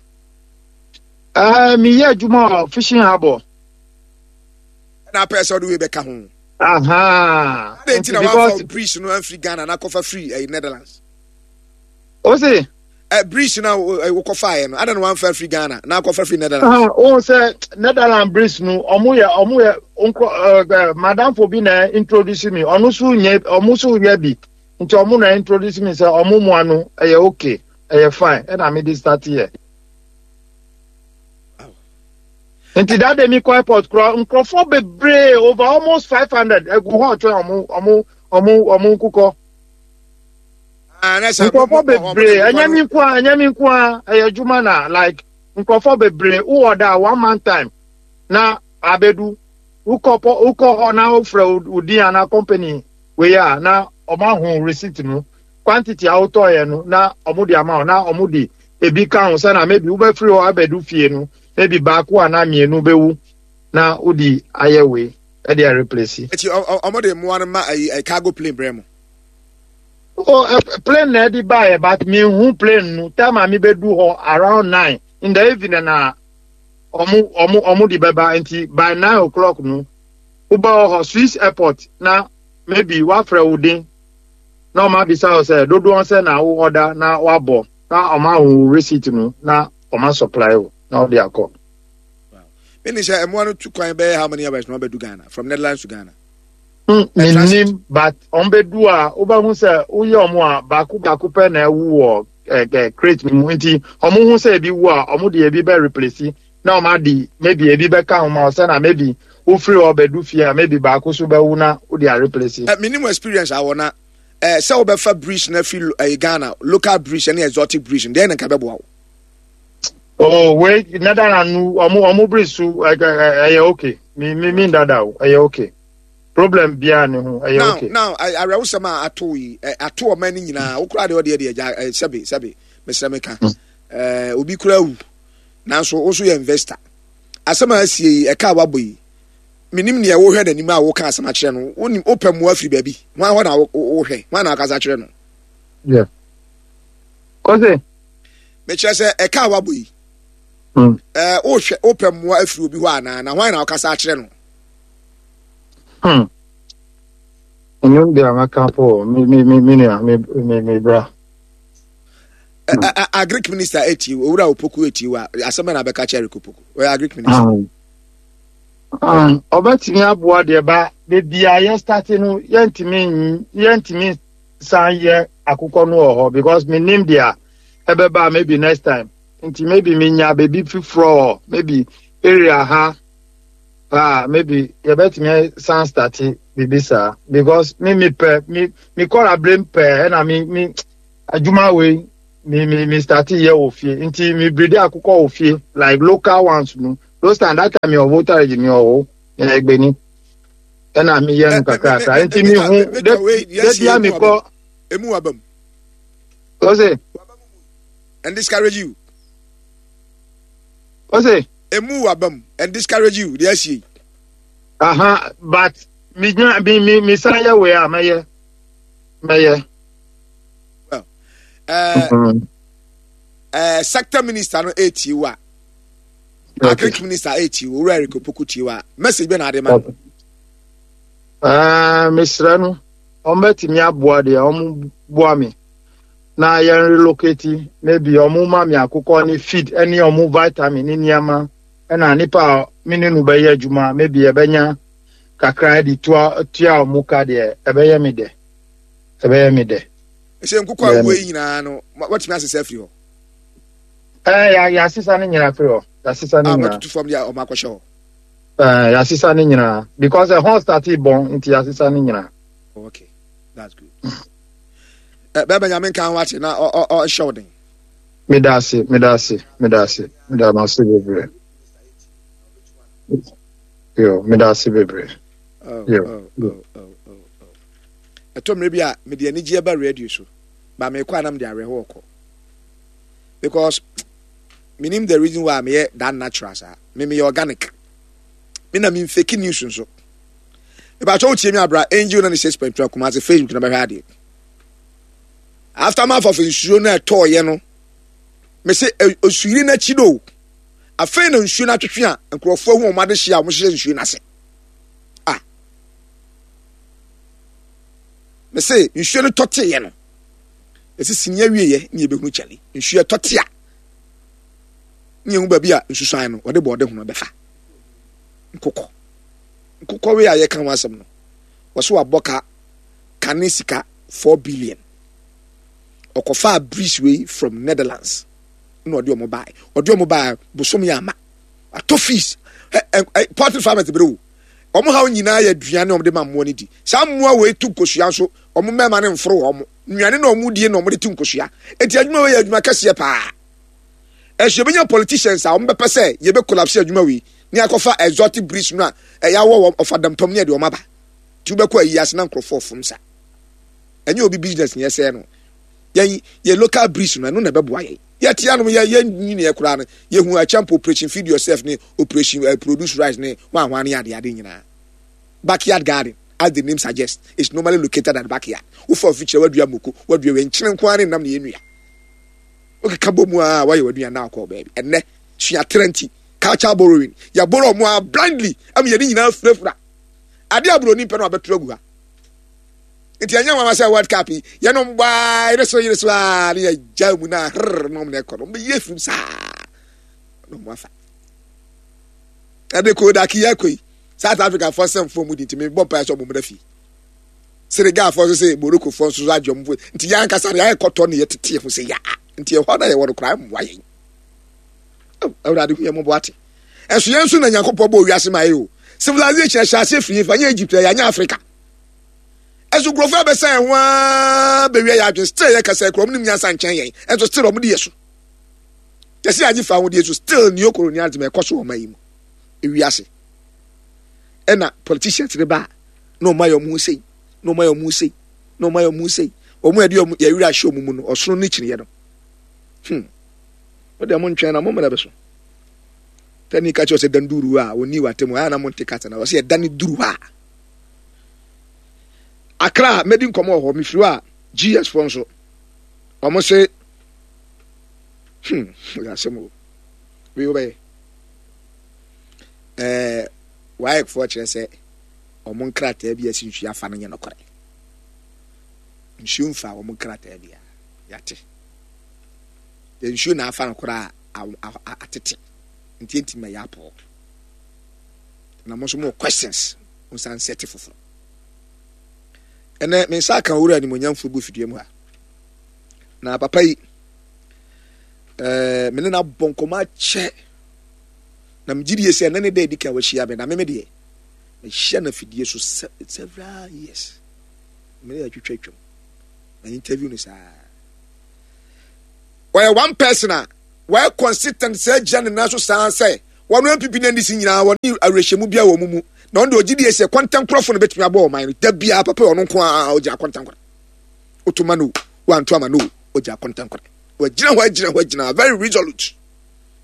S2: Uh, me yɛ adwuma wɔ fishing harbour.
S1: Ɛna apɛ sɛ ɔde wei bɛka ho?
S2: Aha.
S1: Adɛn nti na
S2: because
S1: wamfa bridge no amfiri Ghana na akɔfa firi ɛyi Netherlands?
S2: O se
S1: ɛ bridge na wokɔfaeɛ no, adɛn na wamfa firi Ghana na akɔfa firi Netherlands?
S2: Ah, o sɛ Netherlands bridge no, ɔmo yɛ ɔmo yɛ nkrɔ ɛɛ madamfo bi na introduce me, ɔno nso nyɛ, ɔmo nso yɛ bi, nti ɔmo na introduce me sɛ ɔmo mua no ɛyɛ okay. Ɛyɛ fine. Ɛna me de start yɛ. Nti that day mi kɔ airport kura nkurɔfoɔ bebree, over almost five hundred egu hɔ twɛn ɔmo ɔmo ɔmo ɔmo nkukɔ.
S1: Ah, na sɛ mo-
S2: Nkurɔfoɔ
S1: mo- mo-
S2: bebree.
S1: mo-
S2: Ɛnyɛ mi nko a, ɛnyɛ mi nko a, ɛyɛ adwuma na like nkurɔfoɔ bebree wowɔ da one month time na abedu. Wokɔ pɔ, wokɔ hɔ na wofrɛ wo din ana company wei a, na ɔmo ahu receipt no, quantity a wotɔɔyɛ no, na ɔmo de ama wo, na ɔmo de ebi ka ho sɛna maybe wobɛfiri hɔ abɛdu fie no, maybe baako anaa mmienu bɛwu na wode ayɛ wei ɛde areplace.
S1: Eti ɔ- ɔ- ɔmo de mmoa no ma ayi ayi cargo plane brɛ mo?
S2: Oh, uh, plane na ɛde baeɛ, but mehu plane no time a mebɛdu hɔ around nine in the evening na ɔmo ɔmo ɔmo de bɛba. Nti by nine o'clock no wobɛwɔ hɔ Swiss airport na maybe wafrɛ wo din na ɔmo abisa wo sɛ dodoɔ sɛ na wo order na wabɔ na ɔmo ahu wo receipt no na ɔmo supply wo na ɔde akɔ.
S1: Mene sɛ mmoa no tu kwan bɛyɛ how many hours na wɔbɛdu Ghana, from Netherlands to Ghana?
S2: Mm, menim, but ɔmo bɛdu a, wobɛhu sɛ woyɛ ɔmo a, baako baako pɛ na ɛwu wɔ ɛ ɛ crate no mu. Nti ɔmo hu sɛ ebi wu a, ɔmo de ebi bɛ replace na ɔmo ade maybe ebi bɛka ho ma ɔsɛ na maybe wofiri hɔ bɛdu fie a, maybe baako so bɛwu na wode areplace.
S1: Eh, menim experience awɔ na eh, sɛ wobɛfa bridge na fi eh, Ghana local bridge ne exotic bridge no deɛ, ne nka bɛboa wo?
S2: Oh, wei Netherland no, ɔmo ɔmo bridge so ɛ ɛ ɛyɛ okay. Mi mi mi dada o, ɛyɛ okay, problem biara ne ho, ɛyɛ
S1: Now
S2: okay.
S1: Now awerɛwosɛm a ato yi, eh, ato ɔman no nyinaa. Wo koraa deɛ, ɔdeɛ deɛ gya eh, sɛbe sɛbe, mesrɛ meka, eh, obi koraa wu, nanso wo nso yɛ investor. Asɛm a asie yi, ɛka a wabɔ yi, menim neɛ wohwɛ n'anim a woka asɛm akyerɛ no. Wonim wopɛ mmoa firi baabi hwan hɔ na wo- wo- wohwɛ hwan na wakasa akyerɛ no?
S2: Yeah. Kɔse.
S1: Mekyerɛ sɛ ɛka a wabɔ yi,
S2: Mm.
S1: eh, wohwɛ wopɛ mmoa afiri obi hɔ anaa, na hwan na wakasa akyerɛ no?
S2: Hmm. Ɛno deɛ maka po, mi mi mi mi nua, mi mi mi bra.
S1: Ɛ- ɛ- ɛ- agric minister etie wo, Owura Opoku etie wo a, asɛm bɛ na bɛka kyerɛ Eric Opoku? Ɔyɛ agric minister.
S2: Um, um, ɔbɛtumi aboa deɛ ba beebi a yɛ start no, yɛntumi n- yɛntumi san yɛ akokɔ no wɔ hɔ because mi nim deɛ ɛbɛba maybe next time. Nti maybe mi nya beebi foforɔ wɔ maybe area ha ah, maybe yɛbɛtumi san start biribi saa because mi mi pɛ mi mi kɔra abirem pɛ, ɛna mi mi adwuma wei mi mi mi start yɛ wɔ fie. Nti mi breed akokɔ wɔ fie, like local ones no. Those time, that time mi wɔ Volta Region, mi wɔ hɔ ɛgbɛni ɛna mi yɛ no kakrakra. Nti mi hu de de bia mi kɔ.
S1: Emu waba mu.
S2: Ɔsè?
S1: And discourage you.
S2: Ɔsè?
S1: Emu waba mu and discourage you deɛ asie yi.
S2: Aha, but mi nya mi mi mi san yɛ wei a, mɛyɛ mɛyɛ.
S1: Well, ɛɛ
S2: Mhm.
S1: ɛɛ sector minister no etie wo a,
S2: okay
S1: agric minister etie wo, Owura Eric Opoku tie wo a, message bɛ na ade ma no?
S2: Ɛɛ mesrɛ no, ɔmbɛtumi aboa deɛ, ɔmo boa me na yɛn relocate. Maybe ɔmo ma me akokɔ ne feed ɛne ɔmo vitamin ne nneɛma, ɛna nipa a me ne no bɛyɛ adwuma, maybe yɛbɛnya kakra de tua tua ɔmo ka deɛ, ɛbɛyɛ me dɛ, ɛbɛyɛ me dɛ.
S1: Ɛsɛ nkokɔ a wuo yi nyinaa no, watumi asesa afiri hɔ?
S2: Ɛɛ yà yàsesa ne nyinaa firi hɔ, yàsesa ne
S1: A
S2: nyinaa.
S1: matutu fam deɛ, ɔmo akɔhyɛ hɔ?
S2: Ɛɛ yàsesa ne nyinaa because ɛhɔn start bɔn, nti yàsesa ne nyinaa.
S1: Okay, that's good. Ɛ bɛɛ bɛ Nyame nka ho ate na ɔ ɔ ɔhyɛ wo den.
S2: Meda ase, meda ase, meda ase, meda ase bebree. Yo, meda ase bebree.
S1: Oh,
S2: Yo.
S1: oh, oh, oh, oh, oh. Ɛtɔ mmerɛ bi a mede anigyeɛ ba radio so ba, meekɔ a na mede awerɛhoɔ kɔ because menim the reason why meyɛ that natural saa. Me meyɛ organic, me na memfake news nso. Mepakyɛ, wotie mi abra Angel ninety-six point two Kumase Facebook na bɛhwɛ adeɛ. Aftermath of nsuo no a ɛtɔɔyɛ no, mese osuyiri n'akyi do, afei na nsuo no atwetwe a nkurɔfoɔ ahu wɔn adehye a wɔhyehyɛ nsuo no ase a. Mese nsuo no tɔteeɛ no, ɛsɛ sini awieɛ ne yɛbɛhunu kyɛle nsuo ɛtɔte a ne yɛhu baabi a nsusuan no wɔde bɔɔde ho no bɛfa. Nkokɔ nkokɔ wei a yɛka ho asɛm no, wɔso wabɔ ka kane sika four billion. Ɔkɔfaa breeze wei from Netherlands na ɔde ɔmo bae. Ɔde ɔmo bae bosom yɛ ama atɔ fees. ɛ ɛ poultry farmers bere o, ɔmo haw nyinaa yɛ aduane a ɔmo de ma mmoa no di. Saa mmoa wei tu nkosua nso, ɔmo mmarima no mforo wɔn nnuane na ɔmo die na ɔmo de tu nkosua. Eti adwuma wei yɛ adwuma kɛseɛ paa. Ɛso yɛbɛnya politicians a ɔmo bɛpɛ sɛ yɛbɛ collapse adwuma wei ne akɔfa exotic breeds no a ɛyɛ awɔ wɔn ɔfa dampam ne ɛde ɔmo aba. Ti wobɛkɔ ayi ase na nkurɔfoɔ fom sa. Ɛnyɛ obi business nyɛ sɛɛ no. Yɛn yɛ local breeds no, ɛno na ɛbɛboa yɛn. Yɛte anom yɛ yɛn nyiniɛ koraa no, yɛhu akyɛmpo Operation Feed Yourself ne Operation uh, Produce Rice ne hwanhwan ne ade ade nyinaa. Backyard garden, as the name suggests, is normally located at backyard. Wofa ofikyerɛ, wadua moko, wadua wei, nkyene nko ara ne nam ne yɛnua. Wokeka bɔ mu a, wayɛ w'aduane na akɔ baabi. Ɛnnɛ suatrɛ nti, culture borrowing, yɛborɔ ɔmo a blindly ama yɛne nyinaa furafura ade a buroni pɛ no abɛto agu ha. Nti ɛnyɛ nwanwa sɛ World Cup yi yɛnom baa yere so yere so a ne yɛgya mu na herr na ɔmo na ɛkɔ no, ɔmo bɛyɛ firim saa na ɔmo afa ɛde Kodak yi akɔ yi. South Africa fɔ sɛm fɔ mu di nti mebɔ mpaeɛ sɛ ɔmo mmra fie. Senegal fɔ nso sɛ Morocco fɔ nso so agye ɔmo fo nti yɛn ankasa no yɛayɛ kɔtɔ ne yɛtete ho sɛ yaa nti ɛhɔ na yɛwɔ no koraa mmoa yɛn. Awurade hu yɛn mmɔbɔ ate. Ɛso yɛn nso na Nyankopɔn bɔ wiase ma yɛ o. Civilization ɛhyɛ aseɛ firi yɛn fa nyɛ Egypt, ɛyɛ anyɛ Africa. Ɛso nkurɔfoɔ abɛsa yɛn ho aa bɛwia yɛ adwene. Still yɛ kasa kura ɔmo nim nyansa nkyɛn yɛn, ɛnso still ɔmo di yɛ so. Yɛsi agye fa ahodeɛ so, still neo colonialism ɛkɔ so wɔ ɔman yi mu. Ewiase ɛna politicians ne ba na ɔmo ayɛ ɔmo ho sei na ɔmo ayɛ ɔmo ho sei na ɔmo ayɛ ɔmo ho sei. Ɔmo yɛde ɔmo yɛwura ahyɛ ɔmo mu no, ɔsono ne kyiniiɛ no. hmm mo deɛ mo ntwɛn na mo mmerɛ bɛ so. Tani ka kyerɛ sɛ danduru a wɔni wɔ atɛmu a na mo nte kasa na wɔsɛ yɛda ne duru hɔ a. Akra mɛdi nkɔmɔ wɔ hɔ. Mefiri hɔ a, G S foɔ nso ɔmo se hmm yɛ asɛm o. Wei wobɛyɛ ɛɛ WAEC foɔ kyerɛ sɛ ɔmo nkrataa bi a ɛsi nsuo afa no nyɛ nokorɛ. Nsuo mfa ɔmo nkrataa bi a yɛate nsuo na afa no koraa atete nti ntumi ma yɛ apɔ na mo nso mo questions mo nsa nsɛte foforɔ. Ɛnɛ me nsa aka owura animonyamfoɔ gu fidua mu ha na papa yi ɛɛ me ne no abɔ nkɔmɔ akyɛ na megye die sɛ ɛnɛ ne da edi kan wahyia me na meme deɛ mehyia no afidie so several years. Me ne atwitwa atwam na interview no saa. Wɔyɛ one person a wɔyɛ consistent sɛ gyina ne nan so saa sɛ wɔn N P P ne N D C nyinaa wɔne awerɛhyɛmu bi a wɔn mu na ɔno deɛ ɔgye die sɛ kɔntɛnkorɔfo no bɛtumi abɔ ɔman no da biara. Papa ɔno nko ara ɔgyina kɔntɛnkorɔ wotoma no wanto ama no, ɔgyina kɔntɛnkorɔ, wagyina hɔ agyina hɔ agyina very resolute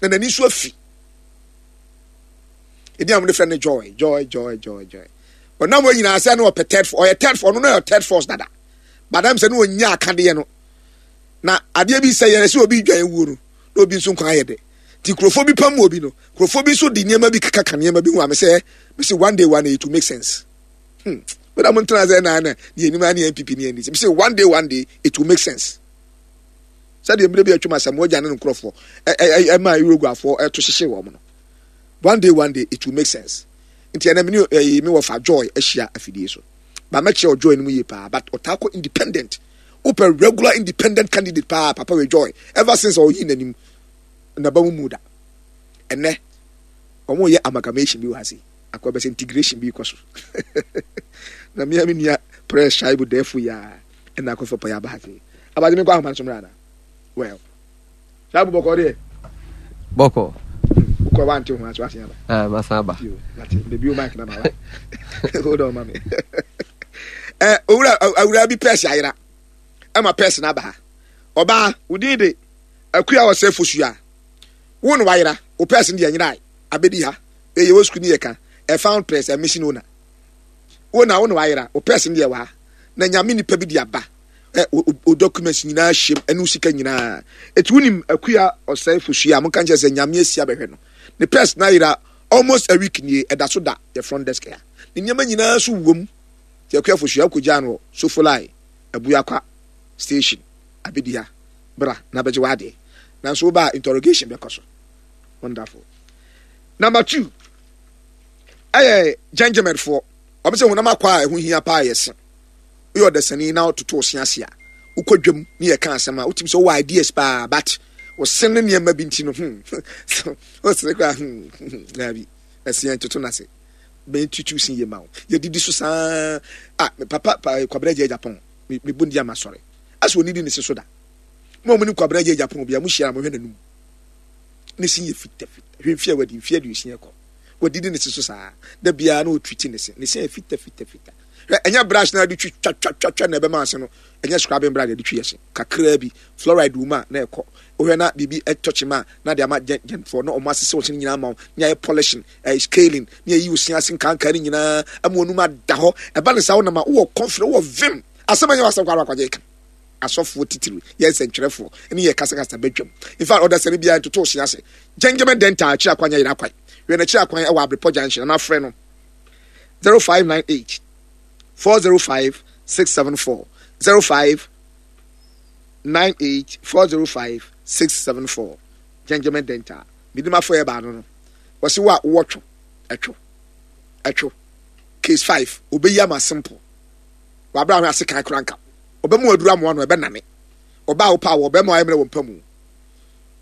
S1: na n'ani nso afi. Ɛdi a wɔde frɛ no Joy, Joy, Joy, Joy, Joy. Ɔnam hɔ nyinaa sɛ no ɔpɛ third, ɔyɛ third force. Ɔno no yɛ third force dada badam sɛ no ɔnya akadeɛ no na adeɛ bi sɛ yɛn sɛ obi dwan wuo no na obi nso nkwan ayɛ dɛ nti nkurɔfoɔ bi pam obi no, nkurɔfoɔ bi nso de nneɛma bi keka nneɛma bi ho a mesɛ mesɛ one day, one day it will make sense. hmm wọ́n mo ntena sɛ na na ne anim ne N P P ne N D C. Mesɛ one day, one day it will make sense. Sɛdeɛ mmerɛ bi atwam asɛm wɔgya ne nkurɔfoɔ ɛma Uruguayfoɔ ɛto hyehyɛ wɔn no, one day, one day it will make sense. Nti ɛnɛ me ne ɛyi me wɔfa Joy ahyia afidie so ba mɛkyerɛ Joy no mu yie paa, but ɔtaa kɔ independent. Wopɛ regular independent candidate paa, papa wɛ Joy. Ever since ɔyi n'anim naba mu mu da ɛnɛ wɔn yɛ amalgamation bi wɔ ha se akɔ bɛsɛ integration bi kɔ so na mmea mi nua press shaibu dɛfo ya ɛna akɔfɔ pɔ yɛ aba ha se abadze mi nkɔ ahoma nso mmerɛ ana. Well, shaibu, bɔkɔ deɛ?
S3: Bɔkɔ.
S1: Wokɔ wante ho aso asen aba.
S3: Ah, masan aba.
S1: Mate bebi o mic na ma wa. Hold on, mami. eh owura awura bi pɛs ayera ɛma pɛs na aba ha. Ɔbaa wodin de Akua ɔsɛ Fosua, wo na wayera wo pɛs no deɛ nyera abɛdi ha. Ɛyɛ wɔ sukuu ne yɛ ka a found purse, a missing owner. Wo na wo na wayera wo pɛs no deɛ wɔ ha na Nyame nipa bi de aba ɛ o documents nyinaa hyɛm ɛne wo sika nyinaa. Eti wonim Akua ɔsɛ Fosua a, monka nkyerɛ sɛ Nyame asi abɛhwɛ no. Ne purse na ayera almost a week nie, ɛda so da yɛ front desk ha. Ne nneɛma nyinaa so wom. Nti Akua Fosua, wokɔgyaa no wɔ Sofolai Abuakwa station abɛdi ha, bra na bɛgye w'adeɛ. Nanso woba a, interrogation bɛkɔ so. Wonderful. Number two ɛyɛ gentlemanfoɔ. Wɔn sɛ honam akɔ a ɛho hia paa yɛ se. Woyɛ ɔdasani na wototo wo se ase a, Wokɔ dwam ne yɛka asɛm a wotumi sɛ wowɔ ideas paa, but wɔse ne nneɛma bi nti no, hmm wosere koraa, hmm daabi, ɛsɛ yɛn toto n'ase bɛn tutu sin yɛ ma wo. Yɛdidi so saa ah. Me papa pa, Kwabena Gye Japan, me me bu ndi ama sɔre asɛ onidi ne se so da. Mo a mo nim Kwabena Gye Japan bia, mo hyia na mo hwɛ n'anum, ne sin yɛ fita fita. Hwɛ mfie a wadi, mfie aduosia kɔ, wadidi ne se so saa da biara na ɔtwiti ne se, ne se yɛ fita fita fita. Hwɛ, ɛnyɛ brush na ade twi twa twa twa twa na ɛbɛma ase no. Ɛnyɛ scrubbing brush yɛde twi yɛ se. Kakraa bi fluoride wɔ mu a na ɛkɔ. Wohwɛ na biribi ɛtɔ kyima a na de ama gyɛnfoɔ na ɔmo asese wɔn nyinaa ama wo, ne ayɛ polishing, ɛyɛ scaling, ne ayi osi ase nkankan ne nyinaa ama wɔn anum ada hɔ. Ɛba ne saa, wɔnam a wowɔ confidence, wowɔ vim. Asɛm ɛnyɛ wasɛm kɔ akwagye ka asɔfoɔ titiri, yɛ nsɛntwerɛfoɔ ne yɛ kasakasa bɛdwam. In fact, ɔdasani biara ntoto osi ase. Gentleman Dental akyiri akwan yɛ yɛrɛ akwan wɛ n'akyiri akwan ɛwɔ Abrepɔ Junction, ana afrɛ no zero five nine eight four zero five six seven four, zero five nine eight four zero five six seven four. Gentleman Dental midimafo yɛ baano no, wɔsi wo a wowɔ two ɛtwo ɛtwo case five, obeyi ama simple. Wabra ahwɛ ase kan kora nka ɔbɛmu aduru amoa no ɛbɛnane. Ɔbaa wo pa wɔ ɔbɛma ayɛ mmerɛ wɔ mpa mu,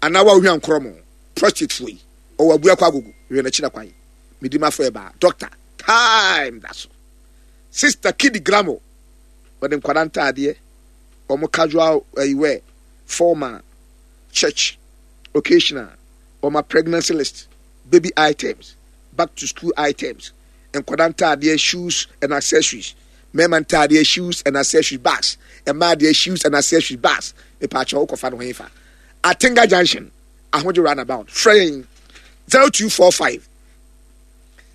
S1: anaa wa ohwia nkorɔ mo prostate foɔ yi, ɔwɔ abua kɔ agogo hwɛ n'akyi na kwan. Midimafo yɛ baa doctor time da so. Sister Kidi Gramo, wɔde nkwadaa ntaadeɛ, wɔn casual ɛyi wear, formal, church, occasional, wɔn pregnancy list, baby items, back to school items, nkwadaa ntaadeɛ, shoes and accessories, mmarima ntaadeɛ, shoes and accessories, bags, mmaa deɛ, shoes and accessories, bags. Mipaakyɛw, wokɔfa no ho fa Atenga Junction, Ahodwo roundabout. Frɛ yɛn zero two four five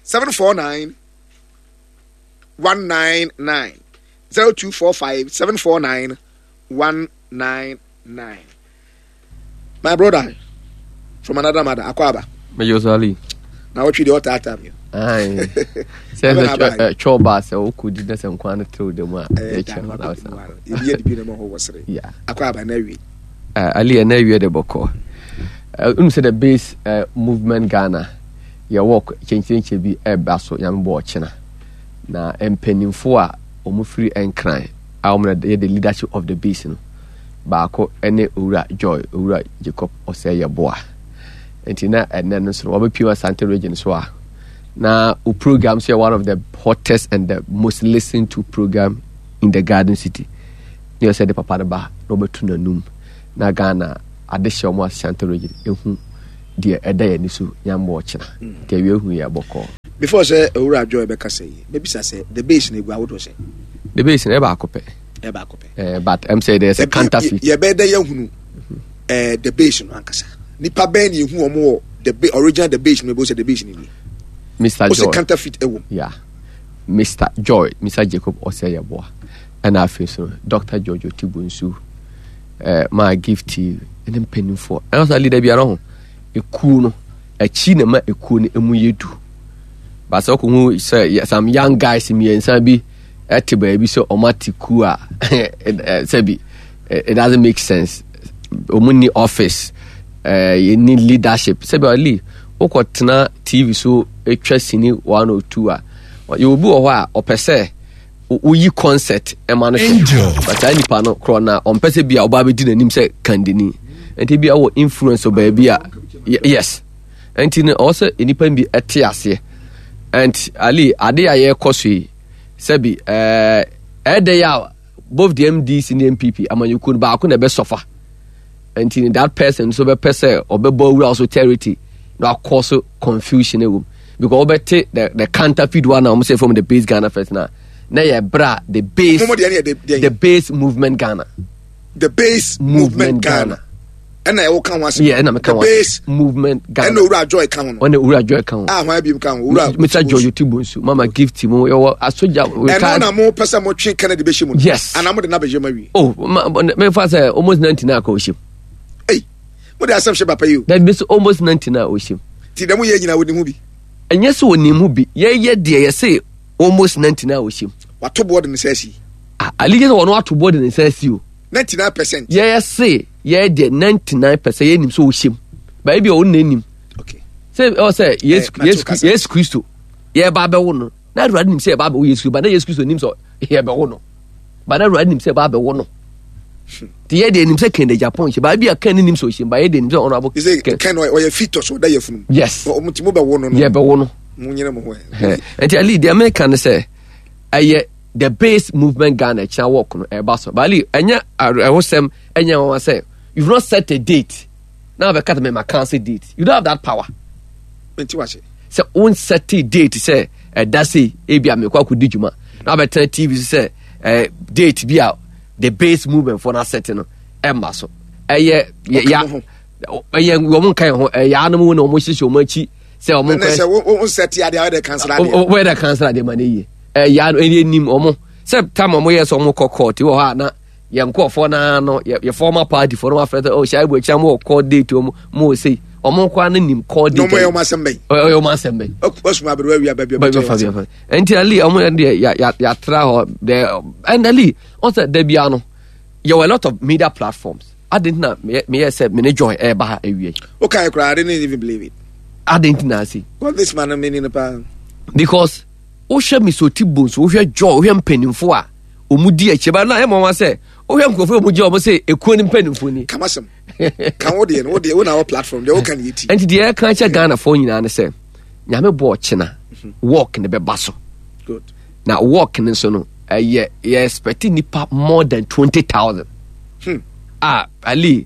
S1: seven four nine one nine nine, zero two four five seven four nine one nine nine. My brother from another mother, akɔ aba.
S3: Meyɛ Osali.
S1: Na wɔtwe deɛ ɔtaataa mi.
S3: Sɛ sɛ twɛ ba sɛ wokɔdi na sɛ nkwa no tew da mu a, yɛkyɛ hɔ na wosa.
S1: Ebi yɛ dibi na ma hɔ wɔ sere. Akɔ aba na awie.
S3: Ali, ɛna awie de bɔkɔ. Wonu sɛ the Base uh, Movement Ghana yɛwɔ kyɛnkyerɛnkyɛ bi ɛba so, Nyame bɔ ɔkyena na mpanimfo a wɔn firi Nkran a wɔn na yɛ the leadership of the base no, baako ne Owura Joy, Owura Jacob Ɔsɛ Yɛboa. Nti na ɛnɛ no nso no wɔbɛpie Asante Region so a na o program so yɛ one of the hottest and the most listened to program in the Garden City, ne ɔsɛ de papa no ba na ɔbɛtu n'anum na Ghana adehyɛ wɔn Asante Region ehu deɛ ɛda yɛn ani so. Nyambɔ ɔkyena nti awia ehu yɛ bɔkɔɔ.
S1: Before sɛ Owura Joy bɛka sɛ yi, mɛbisa sɛ the Base no egu ahodoɔ sɛ?
S3: The Base no ɛyɛ baako pɛ.
S1: Ɛyɛ baako pɛ.
S3: ɛɛ but ɛm sɛ there's a counterfeit.
S1: Yɛbɛyɛ dɛ yɛhunu ɛɛ the Base no ankasa, nipa bɛn na ehu wɔn wɔ the ba original the Base no, ebo sɛ the Base no nie?
S3: Mister
S1: O
S3: Joy.
S1: Sɛ counterfeit ɛwɔ mu.
S3: Yeah, Mister Joy, Mister Jacob Ɔsɛ Yɛboa, ɛna afei so Doctor George Otibunsu, ɛɛ maa Gift ɛne mpanimfoɔ, ɛna sɛ leader biara ho ekuo no akyi na ma ekuo no emu yɛ du baasa. Ɔkò sɛ some young guys mmiɛnsa bi ɛte baabi sɛ ɔmo ate kuo a, sɛbi, it doesn't make sense. Ɔmo ni office, ɛɛ yɛ ni leadership. Sɛbi, ɔli wokɔ tena T V so atwa sini one or two a, yɛ obi wɔ hɔ a ɔpɛ sɛ woyi concert ɛma no hwɛ, but saa nipa no korɔ na ɔmpɛ sɛ bi a ɔba abɛdi n'anim sɛ kandini, nti bi a wɔ influence wɔ baabi a, yes, nti no ɔwɔ sɛ nipa bi ɛte aseɛ. And Ali, ade a yɛrekɔ so yi, sɛbi, ɛɛ ɛdɛ yɛ a both the N D C ne N P P amanyɔkuo no baako na ɛbɛsɔfa, nti that person nso bɛpɛ sɛ ɔbɛbɔ awura so territory na akɔ so confusion ɛwɔ mu, because wɔbɛte the the counterfeit one a wɔn sɛ from the Base Ghana First na na yɛ bra the Base the Base Movement Ghana.
S1: The Base Movement Ghana ɛna ɛwɔ ka ho asɛm.
S3: Yeah, ɛna meka
S1: ho. The Base
S3: Movement Ghana.
S1: Ɛna Owura Joy ka ho no.
S3: Ɛna Owura Joy ka ho.
S1: A hwan bi ka ho? Owura
S3: Mister George Otibunsu, Mama Gift mu yɛwɔ asogya.
S1: Ɛno na mo pɛ sɛ mo twe Kennedy bɛhyɛ mu no?
S3: Yes.
S1: Ana mo de na bɛhyɛ mu awie?
S3: Oh, ma mefa sɛ almost ninety nine akɔ ɔhyɛ mu.
S1: Ei, mo de asɛm hyɛ papa yi o.
S3: Dabi sɛ almost ninety nine ɔhyɛ mu.
S1: Ti dɛm yɛ nyina wɔde ho bi.
S3: Ɛnyɛ sɛ wɔnim ho bi, yɛyɛ deɛ yɛsɛ almost ninety nine ɔhyɛ mu.
S1: Wato boɔ de ne nsa asi.
S3: Ah, Ali, yɛ sɛ wɔn ato boɔ de ne nsa asi o.
S1: Ninety nine percent.
S3: Yɛyɛ se yɛyɛ deɛ ninety nine percent yɛnim sɛ ɔhyɛ mu baabi bi a ɔno na anim.
S1: Okay.
S3: Sɛ ɔ sɛ Yesu, Yesu, Yesu Kristo yɛba abɛwo no, na Awurade nim sɛ yɛba abɛwo Yesu, ba na Yesu Kristo nim sɛ yɛbɛwo no, ba na Awurade nim sɛ yɛba abɛwo no. Nti yɛ deɛ nim sɛ Ken Agyapong hyɛ baabi a Ken nim sɛ ɔhyɛ ba, yɛ deɛ nim sɛ ɔno abo.
S1: Ken Ken ɔyɛ fetus, ɔda yɛ funu.
S3: Yes.
S1: Ɔmo ti mo bɛ wo no no.
S3: Yɛ bɛ wo no.
S1: Mo nyere mo ho ɛ.
S3: Nti Ali, deɛ meka ne sɛ ɛyɛ The Base Movement Ghana ɛkyina work no ɛba so. But Ali, ɛnyɛ ɛhosɛm, ɛnyɛ wɔn sɛ you've not set a date na abɛka sɛ mɛma cancel date. You don't have that power.
S1: Nti wa se
S3: sɛ won set date sɛ ɛda sei ebi a mekɔ akɔdi dwuma na abɛtena T V so sɛ ɛɛ date bi a The Base Movement for na set no ɛmma so, ɛyɛ ya ɛyɛ wɔn nka yɛn ho, ɛyɛ anum na wɔn hyehyɛ wɔn akyi sɛ wɔn
S1: nkɔ. Sɛ wɔn set adeɛ a wɔde cancel adeɛ.
S3: Wɔyɛ cancel adeɛ ma ne yie, ɛyɛ ano, ɛyɛ nim wɔn sɛ tam wɔn yɛ sɛ wɔn kɔ court wɔ hɔ a, na yɛn nkɔɔfoɔ naa no yɛ yɛ former party foɔ no wafrɛ sɛ, oh, Shaibu, akyia mo wɔ court date, wɔn mo wɔ sei, wɔn nkɔ ano nim court date.
S1: N'ɔmo yɛ wɔn asɛm bɛyi.
S3: Ɔyɛ wɔn asɛm bɛyi.
S1: Ɔsùn abiriwa wi ababi.
S3: Ɔbɛ fa bi fa. Nti Ali, wɔn yɛ deɛ ya ya yatra hɔ dɛ, and Ali, wɔn sɛ dɛbi ano yɛ wɔ a lot of media platforms adi ntina meyɛ sɛ mene Joy ɛɛba ha ewie.
S1: Okay, kura, I didn't even believe it.
S3: Adi ntina ase.
S1: Well, this man meaning pa.
S3: Because wohwɛ Misoti Bonsu, wohwɛ Joy, wohwɛ mpanimfo a wɔn di akyire ba na ɛmɔ wɔn sɛ wohwɛ nkurɔfoɔ a wɔn gyina wɔn sɛ ekuo ne mpanimfoɔ ni.
S1: Kamasɛm ka wo deɛ no, wo deɛ wo na wɔ platform deɛ woka ne yɛ ti.
S3: Nti deɛ ɛka kyɛ Ghanafoɔ nyinaa ne sɛ Nyame bɔ ɔkyena work ne bɛba so.
S1: Good.
S3: Na work ne nso no, ɛyɛ yɛ expect nipa more than twenty thousand.
S1: Hmm.
S3: Ah, Ali,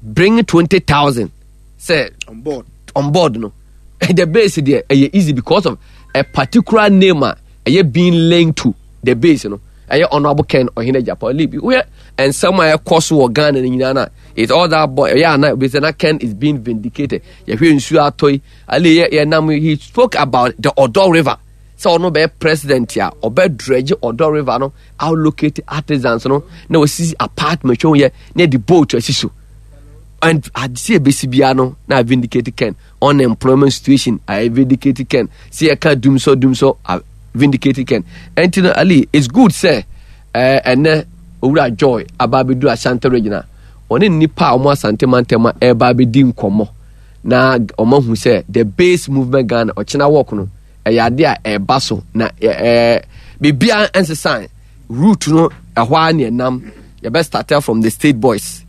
S3: bring twenty thousand sɛ
S1: on board.
S3: On board no, The Base deɛ, ɛyɛ easy because of a particular name a ɛyɛ being linked to The Base no, ɛyɛ Honourable Ken Ɔhene Agyapong. Ali bi woyɛ nsɛm a ɛkɔ so wɔ Ghana no nyinaa na it's all that boy ɛyɛ ana obi sɛ na Ken is being vindicated. Yɛhwɛ nsuo atɔ yi, Ali, yɛ yɛ nam, he spoke about the Odaw River sɛ ɔno bɛyɛ president a, ɔbɛ dredge Odaw River no, allocate artisans no na wɔsisi apartment twɛn yɛ na yɛde boat asi so, and ade ebesi bia no na vindicate Ken. Unemployment situation, I vindicate Ken. Sɛ yɛka dumsɔ dumsɔ, I vindicate Ken. Ɛnti no Ali, it's good sɛ ɛɛ ɛnɛ Owura Joy aba abɛdu Ashanti Region a ɔne nipa a wɔn Asante mantam a ɛreba abɛdi nkɔmɔ na wɔn ahu sɛ The Base Movement Ghana ɔkyena work no ɛyɛ ade a ɛreba so, na ɛɛ biribiara nsesan route no, ɛhɔ ara ne ɛnam. Yɛbɛ start from the State Boys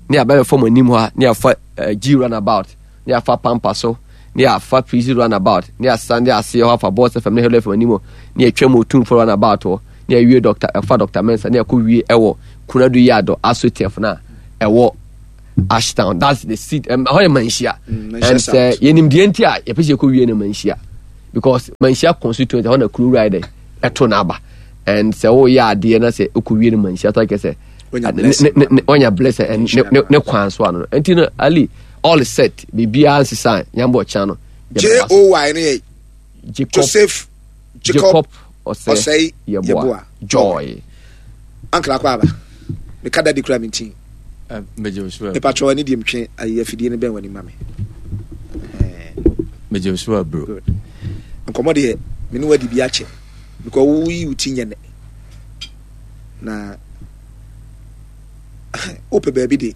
S3: ne yɛabɛbɛ fam anim hɔ a, ne yɛafa uh, G Runabout, ne yɛafa Pampa so, ne yɛafa Prison Runabout, ne yɛasan de aseɛ hɔ afa Boss F M ne Hello F M anim hɔ, ne yɛtwa mu Otumfo Runabout hɔ, ne yɛwie Doctor ɛfa Doctor Mensa, ne yɛkɔ wie ɛwɔ Kunadu Yado Asotef na ɛwɔ Ashtown. That's the seat. Ɛhɔ yɛ Manhyia.
S1: Mm,
S3: and sɛ yɛnim deɛ nti a yɛpɛ sɛ yɛkɔ wie no Manhyia, because Manhyia constituency ɛhɔ na kuro wura yɛ dɛ ɛto n'aba, and sɛ woyɛ adeɛ na sɛ wokɔ wie no Manhyia so akɛ sɛ wanya blessing and ne kwan so ano. Nti no Ali, all is set, biribiara nsesa, nyambɔ ɔkyɛn no.
S1: J O Y ne yɛ
S3: Jacob,
S1: Joseph Jacob,
S3: Jacob
S1: Ɔsɛe
S3: Yeboah Joy.
S1: Ankara kɔ aba meka dadi kura me ntin.
S4: Megye wo so.
S1: Mepatwɛ w'ani deɛ metwe ayi afidie no bɛn w'ani ma me.
S4: Megye wo so aburo.
S1: Good. Nkɔmmɔ deɛ, me ne wadi bi akyɛ because woyi wo ti nyɛ nɛ na wopɛ baabi de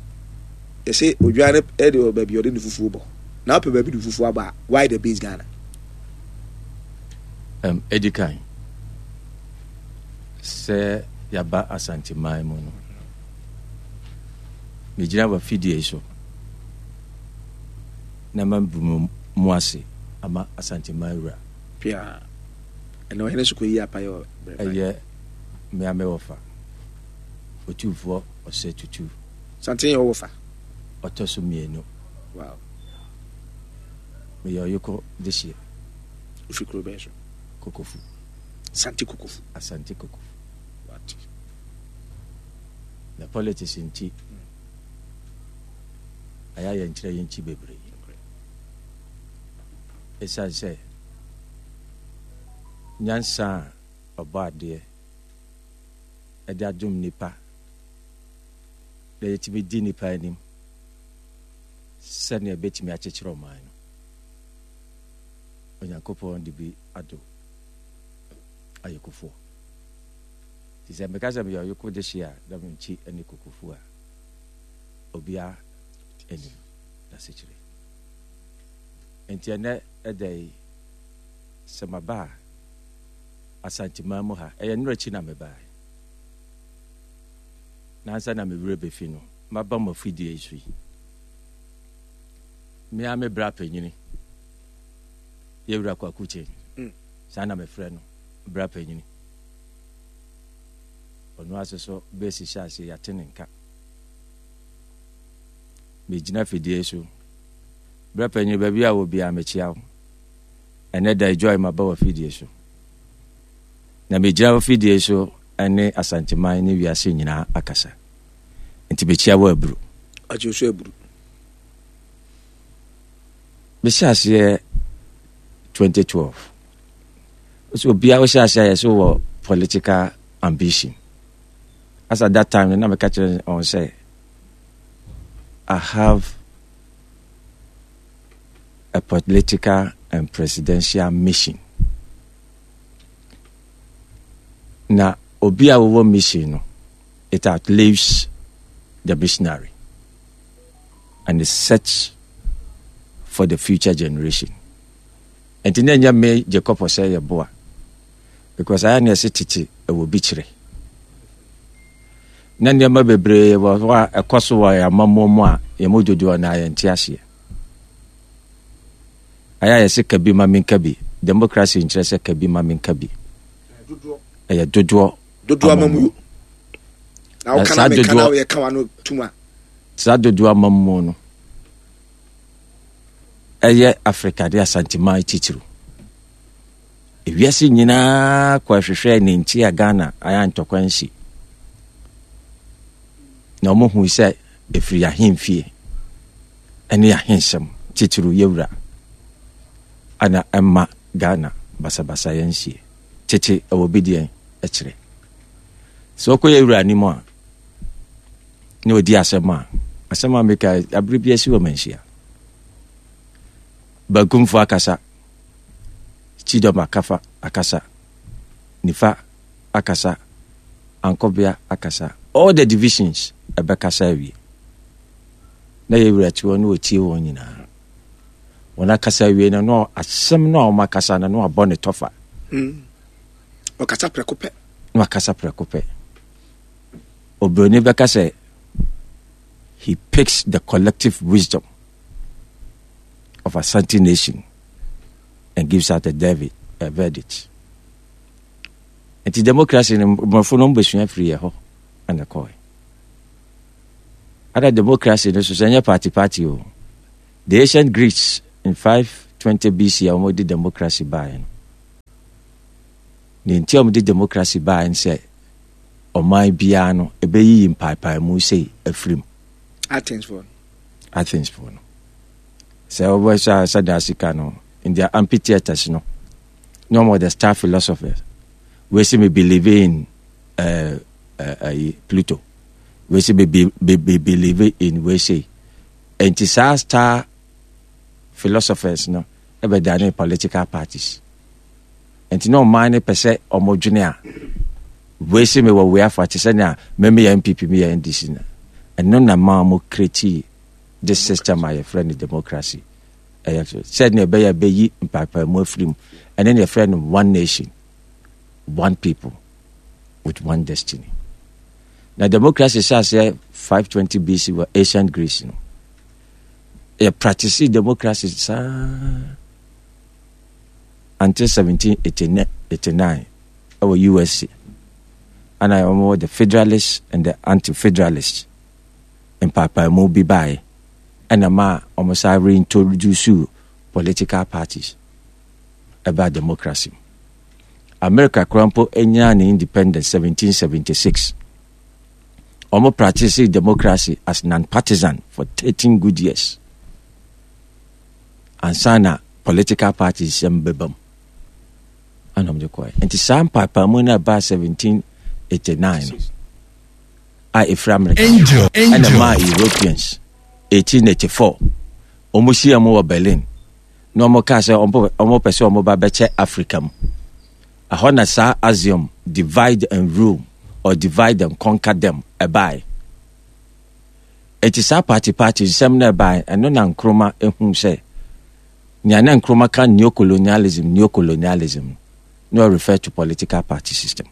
S1: yɛsɛ odwan no ɛde wɔ baabi ɔde ne fufuo bɔ na wopɛ baabi de fufuo abɔ a, why The Base Ghana?
S4: um, ɛdi kan sɛ yɛaba Asanteman mu no, megyina wafidie yi so na mabu mu mu ase ama Asanteman wura.
S1: Pia ɛnɛ ɔhene so kɔyi apayɛ wɔ berɛ.
S4: Ɛyɛ mmea me wɔfa Otumfoɔ Ɔsɛ Tutu.
S1: Santen yɛ wɔwɔ fa.
S4: Ɔtɔ so mmienu.
S1: Wow.
S4: Meyɛ Ɔyekɔ dehyeɛ.
S1: Wofiri kuro bɛn so?
S4: Kokofu.
S1: Sante Kokofu.
S4: Asante Kokofu.
S1: Wate.
S4: Na politics nti ɛyɛ ayɛ nkyerɛ yɛn nkyi bebree, ɛsiane sɛ nyansa a ɔbɔ adeɛ ɛde adom nipa na yɛtumi di nipa anim sɛnea ɛbɛtumi akyekyere ɔman no, Onyankopɔn de bi ado ayɔkofoɔ. Nti sɛ meka sɛ meyɛ Ɔyoko de hye a, na menkyi ne Kokofu a obiara anim n'asekyerɛ. Nti ɛnɛ ɛda yi sɛ maba a Asanteman mu ha, ɛyɛ nnora akyi na mebaeɛ. Nansa na me werɛ bɛfi no, maba mo afidie yi so yi. Me ara me bra panyini, Yɛwura Kwaku Kyen,
S1: mm.
S4: saa na mefrɛ no, bra panyini. Ɔno ase so bɛsi hyɛ ase yɛate ne nka. Megyina fidie so. Bra panyini, baabi a wɔ biara mekyia wo. Ɛnɛ da Joy maba wɔ fidie so. Na megyina wɔ fidie so ne Asanteman ne wiase nyinaa akasa. Nti mekyia wɔ aburu.
S1: Agye so aburu.
S4: Mehyɛ aseɛ twenty twelve. So obiara wohyɛ aseɛ a yɛ so wɔ political ambition. As at that time no, na meka kyerɛ wɔn sɛ I have a political and presidential mission. Na obi a wɔwɔ mission no, it outlives the missionary and it sets for the future generation. Nti na ɛnyɛ me Jacob Osei Yeboah, because ayɛ ne ɛsɛ tete ɛwɔ bi kyerɛ na nneɛma bebree wɔ hɔ a ɛkɔ so wɔ yɛn amammuo mu a yɛn mu dodoɔ na yɛnte aseɛ. Ayɛ a yɛsɛ kabi ma menka bi. Democracy nkyerɛ sɛ kabi ma menka bi, ɛyɛ dodoɔ.
S1: Dodoɔ amammuo na woka na meka na woyɛ ka wa no tum a.
S4: Saa dodoɔ amammuo no ɛyɛ Africa de Asanteman titiriw. Ewiase nyinaa kɔ ɛhwehwɛ ne nti a Ghana ayɛ ntɔkwa nsi na wɔn hu sɛ ɛfiri ahemfie ɛne ahensɛm, titiriw yɛwura ana ɛma Ghana basabasa yɛn nsie. Tete ɛwɔ bi deɛ ɛkyerɛ sɛ ɔkɔ yɛwura anim a na ɔdi asɛm a asɛm a meka abere bi asi wɔ manhyia Bankumfo akasa, Chidom akafa akasa, Nifa akasa, Ankɔbea akasa, all the divisions ɛbɛkasa awie na yɛwura te hɔ na ɔtie wɔn nyinaa. Wɔn akasa awie no, na asɛm no a wɔn akasa no na wabɔ ne tɔfa.
S1: mm. Ɔkasa prɛko pɛ.
S4: Na wakasa prɛko pɛ. Oburoni bɛka sɛ he picks the collective wisdom of Asante nation and gives out a, David, a verdict. Nti democracy no, mmorɔfo no mbɛsua firi yɛ hɔ ɛna kɔɛ. Ada democracy no so sɛ ɛnyɛ party party o. The ancient Greeks in five twenty B C a wɔde democracy baeɛ no, ne nti a wɔde democracy baeɛ no sɛ ɔman biara no ɛbɛyiyi mpaepaemu sei afiri mu.
S1: Athens foɔ.
S4: Athens foɔ no, sɛ wɔbɛhyɛ a sɛdeɛ asika no in their amphitheatres no na wɔn the star philosophers wei sɛ me believe in uh, uh, uh, Pluto, wei sɛ me, be, be, be believe in wei sɛ. Nti saa star philosophers no ɛbɛdane political parties. Nti na ɔman no pɛ sɛ ɔmo dwene a wei sɛ mewɔ wei afa te sɛ nea meme yɛ N P P, meyɛ N D C no. Ɛno na ma mo create this system a yɛfrɛ no democracy. Ɛyɛ sɛdeɛ ɛbɛyɛ bɛyi mpaepaemu afiri mu. Ɛne ne yɛfrɛ no one nation, one people with one destiny. Na democracy hyɛ aseɛ five twenty B C wɔ ancient Greece no. Yɛ practice democracy saa until seventeen eighty-nine ɛwɔ U S A, ana wɔn the Federalists and the Anti-Federalists mpaepaemu bi baeɛ, ɛna ma wɔn sa reintroduce political parties ɛba democracy mu. America koraa mpo nyaa ne independence seventeen seventy-six. Wɔn practice democracy as non-partisan for thirteen good years ansa na political parties sɛm bɛba mu ana wɔde kɔɛ. Nti saa mpaepaemu no a ɛbaa seventeen eighty-nine no a ɛfiri America
S5: Angel,
S4: ɛna
S5: Angel.
S4: maa Europeans eighteen eighty-four wɔn hyia mu wɔ Berlin na wɔn kaa sɛ wɔn pɛ sɛ wɔn ba bɛkyɛ Africa mu. Ɛhɔ na saa axiom "divide and rule" or "divide and conquer them" ɛbaeɛ. Eti saa party party nsɛm no ɛbaeɛ, ɛno na Nkrumah ehu sɛ nea na Nkrumah ka neocolonialism neocolonialism no na refer to political party system.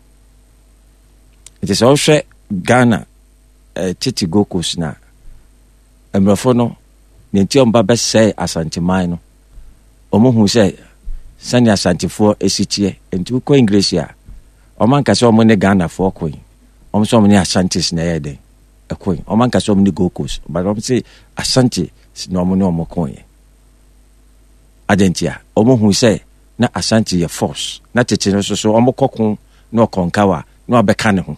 S4: Nti sɛ ɔhwɛ Ghana eh, tete Gold Coast na mmorɔfo no ne nti ɔmba bɛsɛe Asanteman no, ɔmo hu sɛ sɛnea Asantefoɔ esi teɛ. Nti wokɔ English a, ɔmo anka sɛ ɔmo ne Ghanafoɔ koe, ɔmo sɛ ɔmo ne Ashantis na ɛyɛ dɛn ɛkoe. Ɔmo anka sɛ ɔmo ne Gold Coast, but ɔmo sɛ Ashanti na ɔmo ne ɔmo koeɛ. Adɛn a ɔmo hu sɛ na Ashanti yɛ force na tete no nso so ɔmo kɔko na ɔkɔnkawa na ɔbɛka ne ho,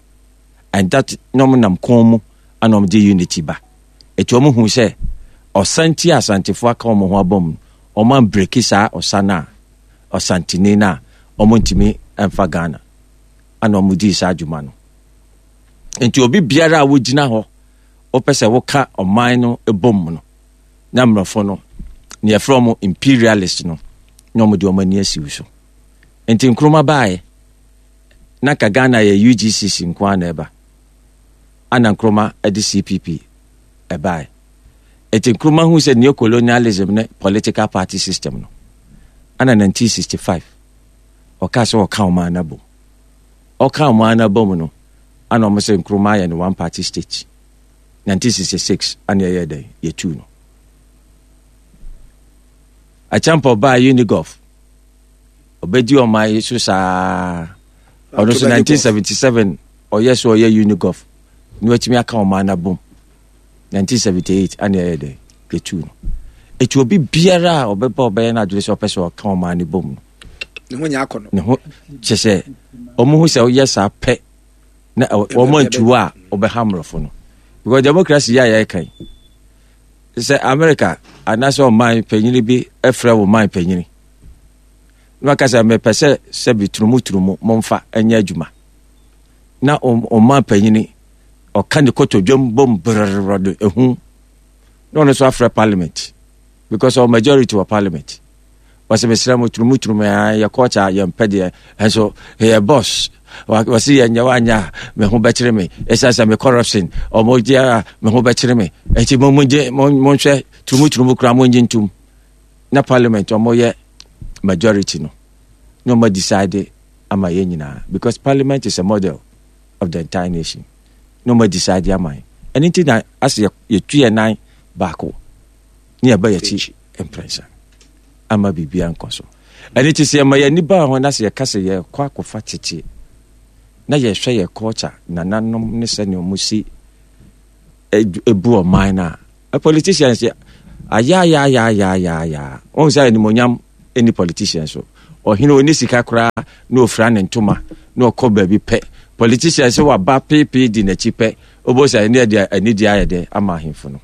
S4: and that na ɔmo nam kɔn mu ana ɔmo de unity ba. Eti ɔmo hu sɛ ɔsanti a Asantefoɔ aka ɔmo ho abɔ mu no, ɔmo ambreki saa ɔsa no a ɔsantene no a ɔmo ntumi mfa Ghana ana ɔmo dii saa adwuma no. Nti obi biara a wogyina hɔ wopɛ sɛ woka ɔman no bom no, na mmorɔfo no ne yɛfrɛ ɔmo imperialist no na ɔmo de ɔmo ani asi wo so. Nti Nkrumah baeɛ na ka Ghana yɛ U G C C nko ara na ɛba ana Nkrumah de C P P ɛbaeɛ. Nti Nkrumah hu sɛ neocolonialism ne political party system no ana nineteen sixty-five ɔka sɛ ɔka ɔman no abom. Ɔka ɔman no abom no ana ɔmo sɛ Nkrumah ayɛ no one party state. nineteen sixty-six ana ɛyɛ dɛn yɛtuu no. Acheampong baa Unigov, ɔbɛdi ɔman yi so saa. Ɔno nso nineteen seventy-seven ɔyɛ so ɔyɛ Unigov na watumi aka ɔman no abom. nineteen seventy-eight ana ɛyɛ dɛn yɛtuu no. Ɛti obi biara a ɔbɛba ɔbɛyɛ no adwene sɛ ɔpɛ sɛ ɔka ɔman no bom no,
S1: ne ho nyɛ akɔ no.
S4: Ne ho kyɛ sɛ ɔmo hu sɛ woyɛ saa pɛ na ɛ- wɔn antu a ɔbɛha mmorɔfo no, because democracy yɛ a yɛreka yi sɛ America anaasɛ ɔman panyini bi frɛ wo man panyini na waka sɛ mepɛ sɛ sɛbi turumuturumu momfa nyɛ adwuma, na ɔm- ɔman panyini ɔka ne kotodwam bom brrrr de ehu na ɔno nso afrɛ parliament because ɔwɔ majority wɔ parliament, wɔsɛ mesrɛ mo, turumuturumu a yɛ culture a yɛmpɛ deɛ ɛnso yɛ boss wɔse yɛnyɛ woanyɛ a me ho bɛkyere me, ɛsiane sɛ me corruption ɔmo gye a me ho bɛkyere me, nti mo mongye monhwɛ turumuturumu koraa mongye ntom. Na parliament ɔmo yɛ majority no na ɔmo decide ama yɛn nyinaa, because parliament is a model of the entire nation, na ɔmo decide ama yɛn. Ɛno nti na asɛ yɛtu yɛn nan baako ne yɛba yɛkyi mprɛnsa ama biribia nkɔ so. Ɛno nti sɛ yɛma yɛni baa ho na sɛ yɛka sɛ yɛkɔ akɔfa tete na yɛhwɛ yɛ culture, nananom ne sɛnea ɔmo si ebu ɔman no a, politicians yɛ ayaayaayaayaaya wɔn sɛ animonyam ɛni politicians so. Ɔhene oni sika koraa na ofura ne ntoma na ɔkɔ baabi pɛ, politicians sɛ waba peepee di n'akyi pɛ, ɔbɔ sɛ ɛne ɛde anidie ayɛ dɛ ama ahemfo no.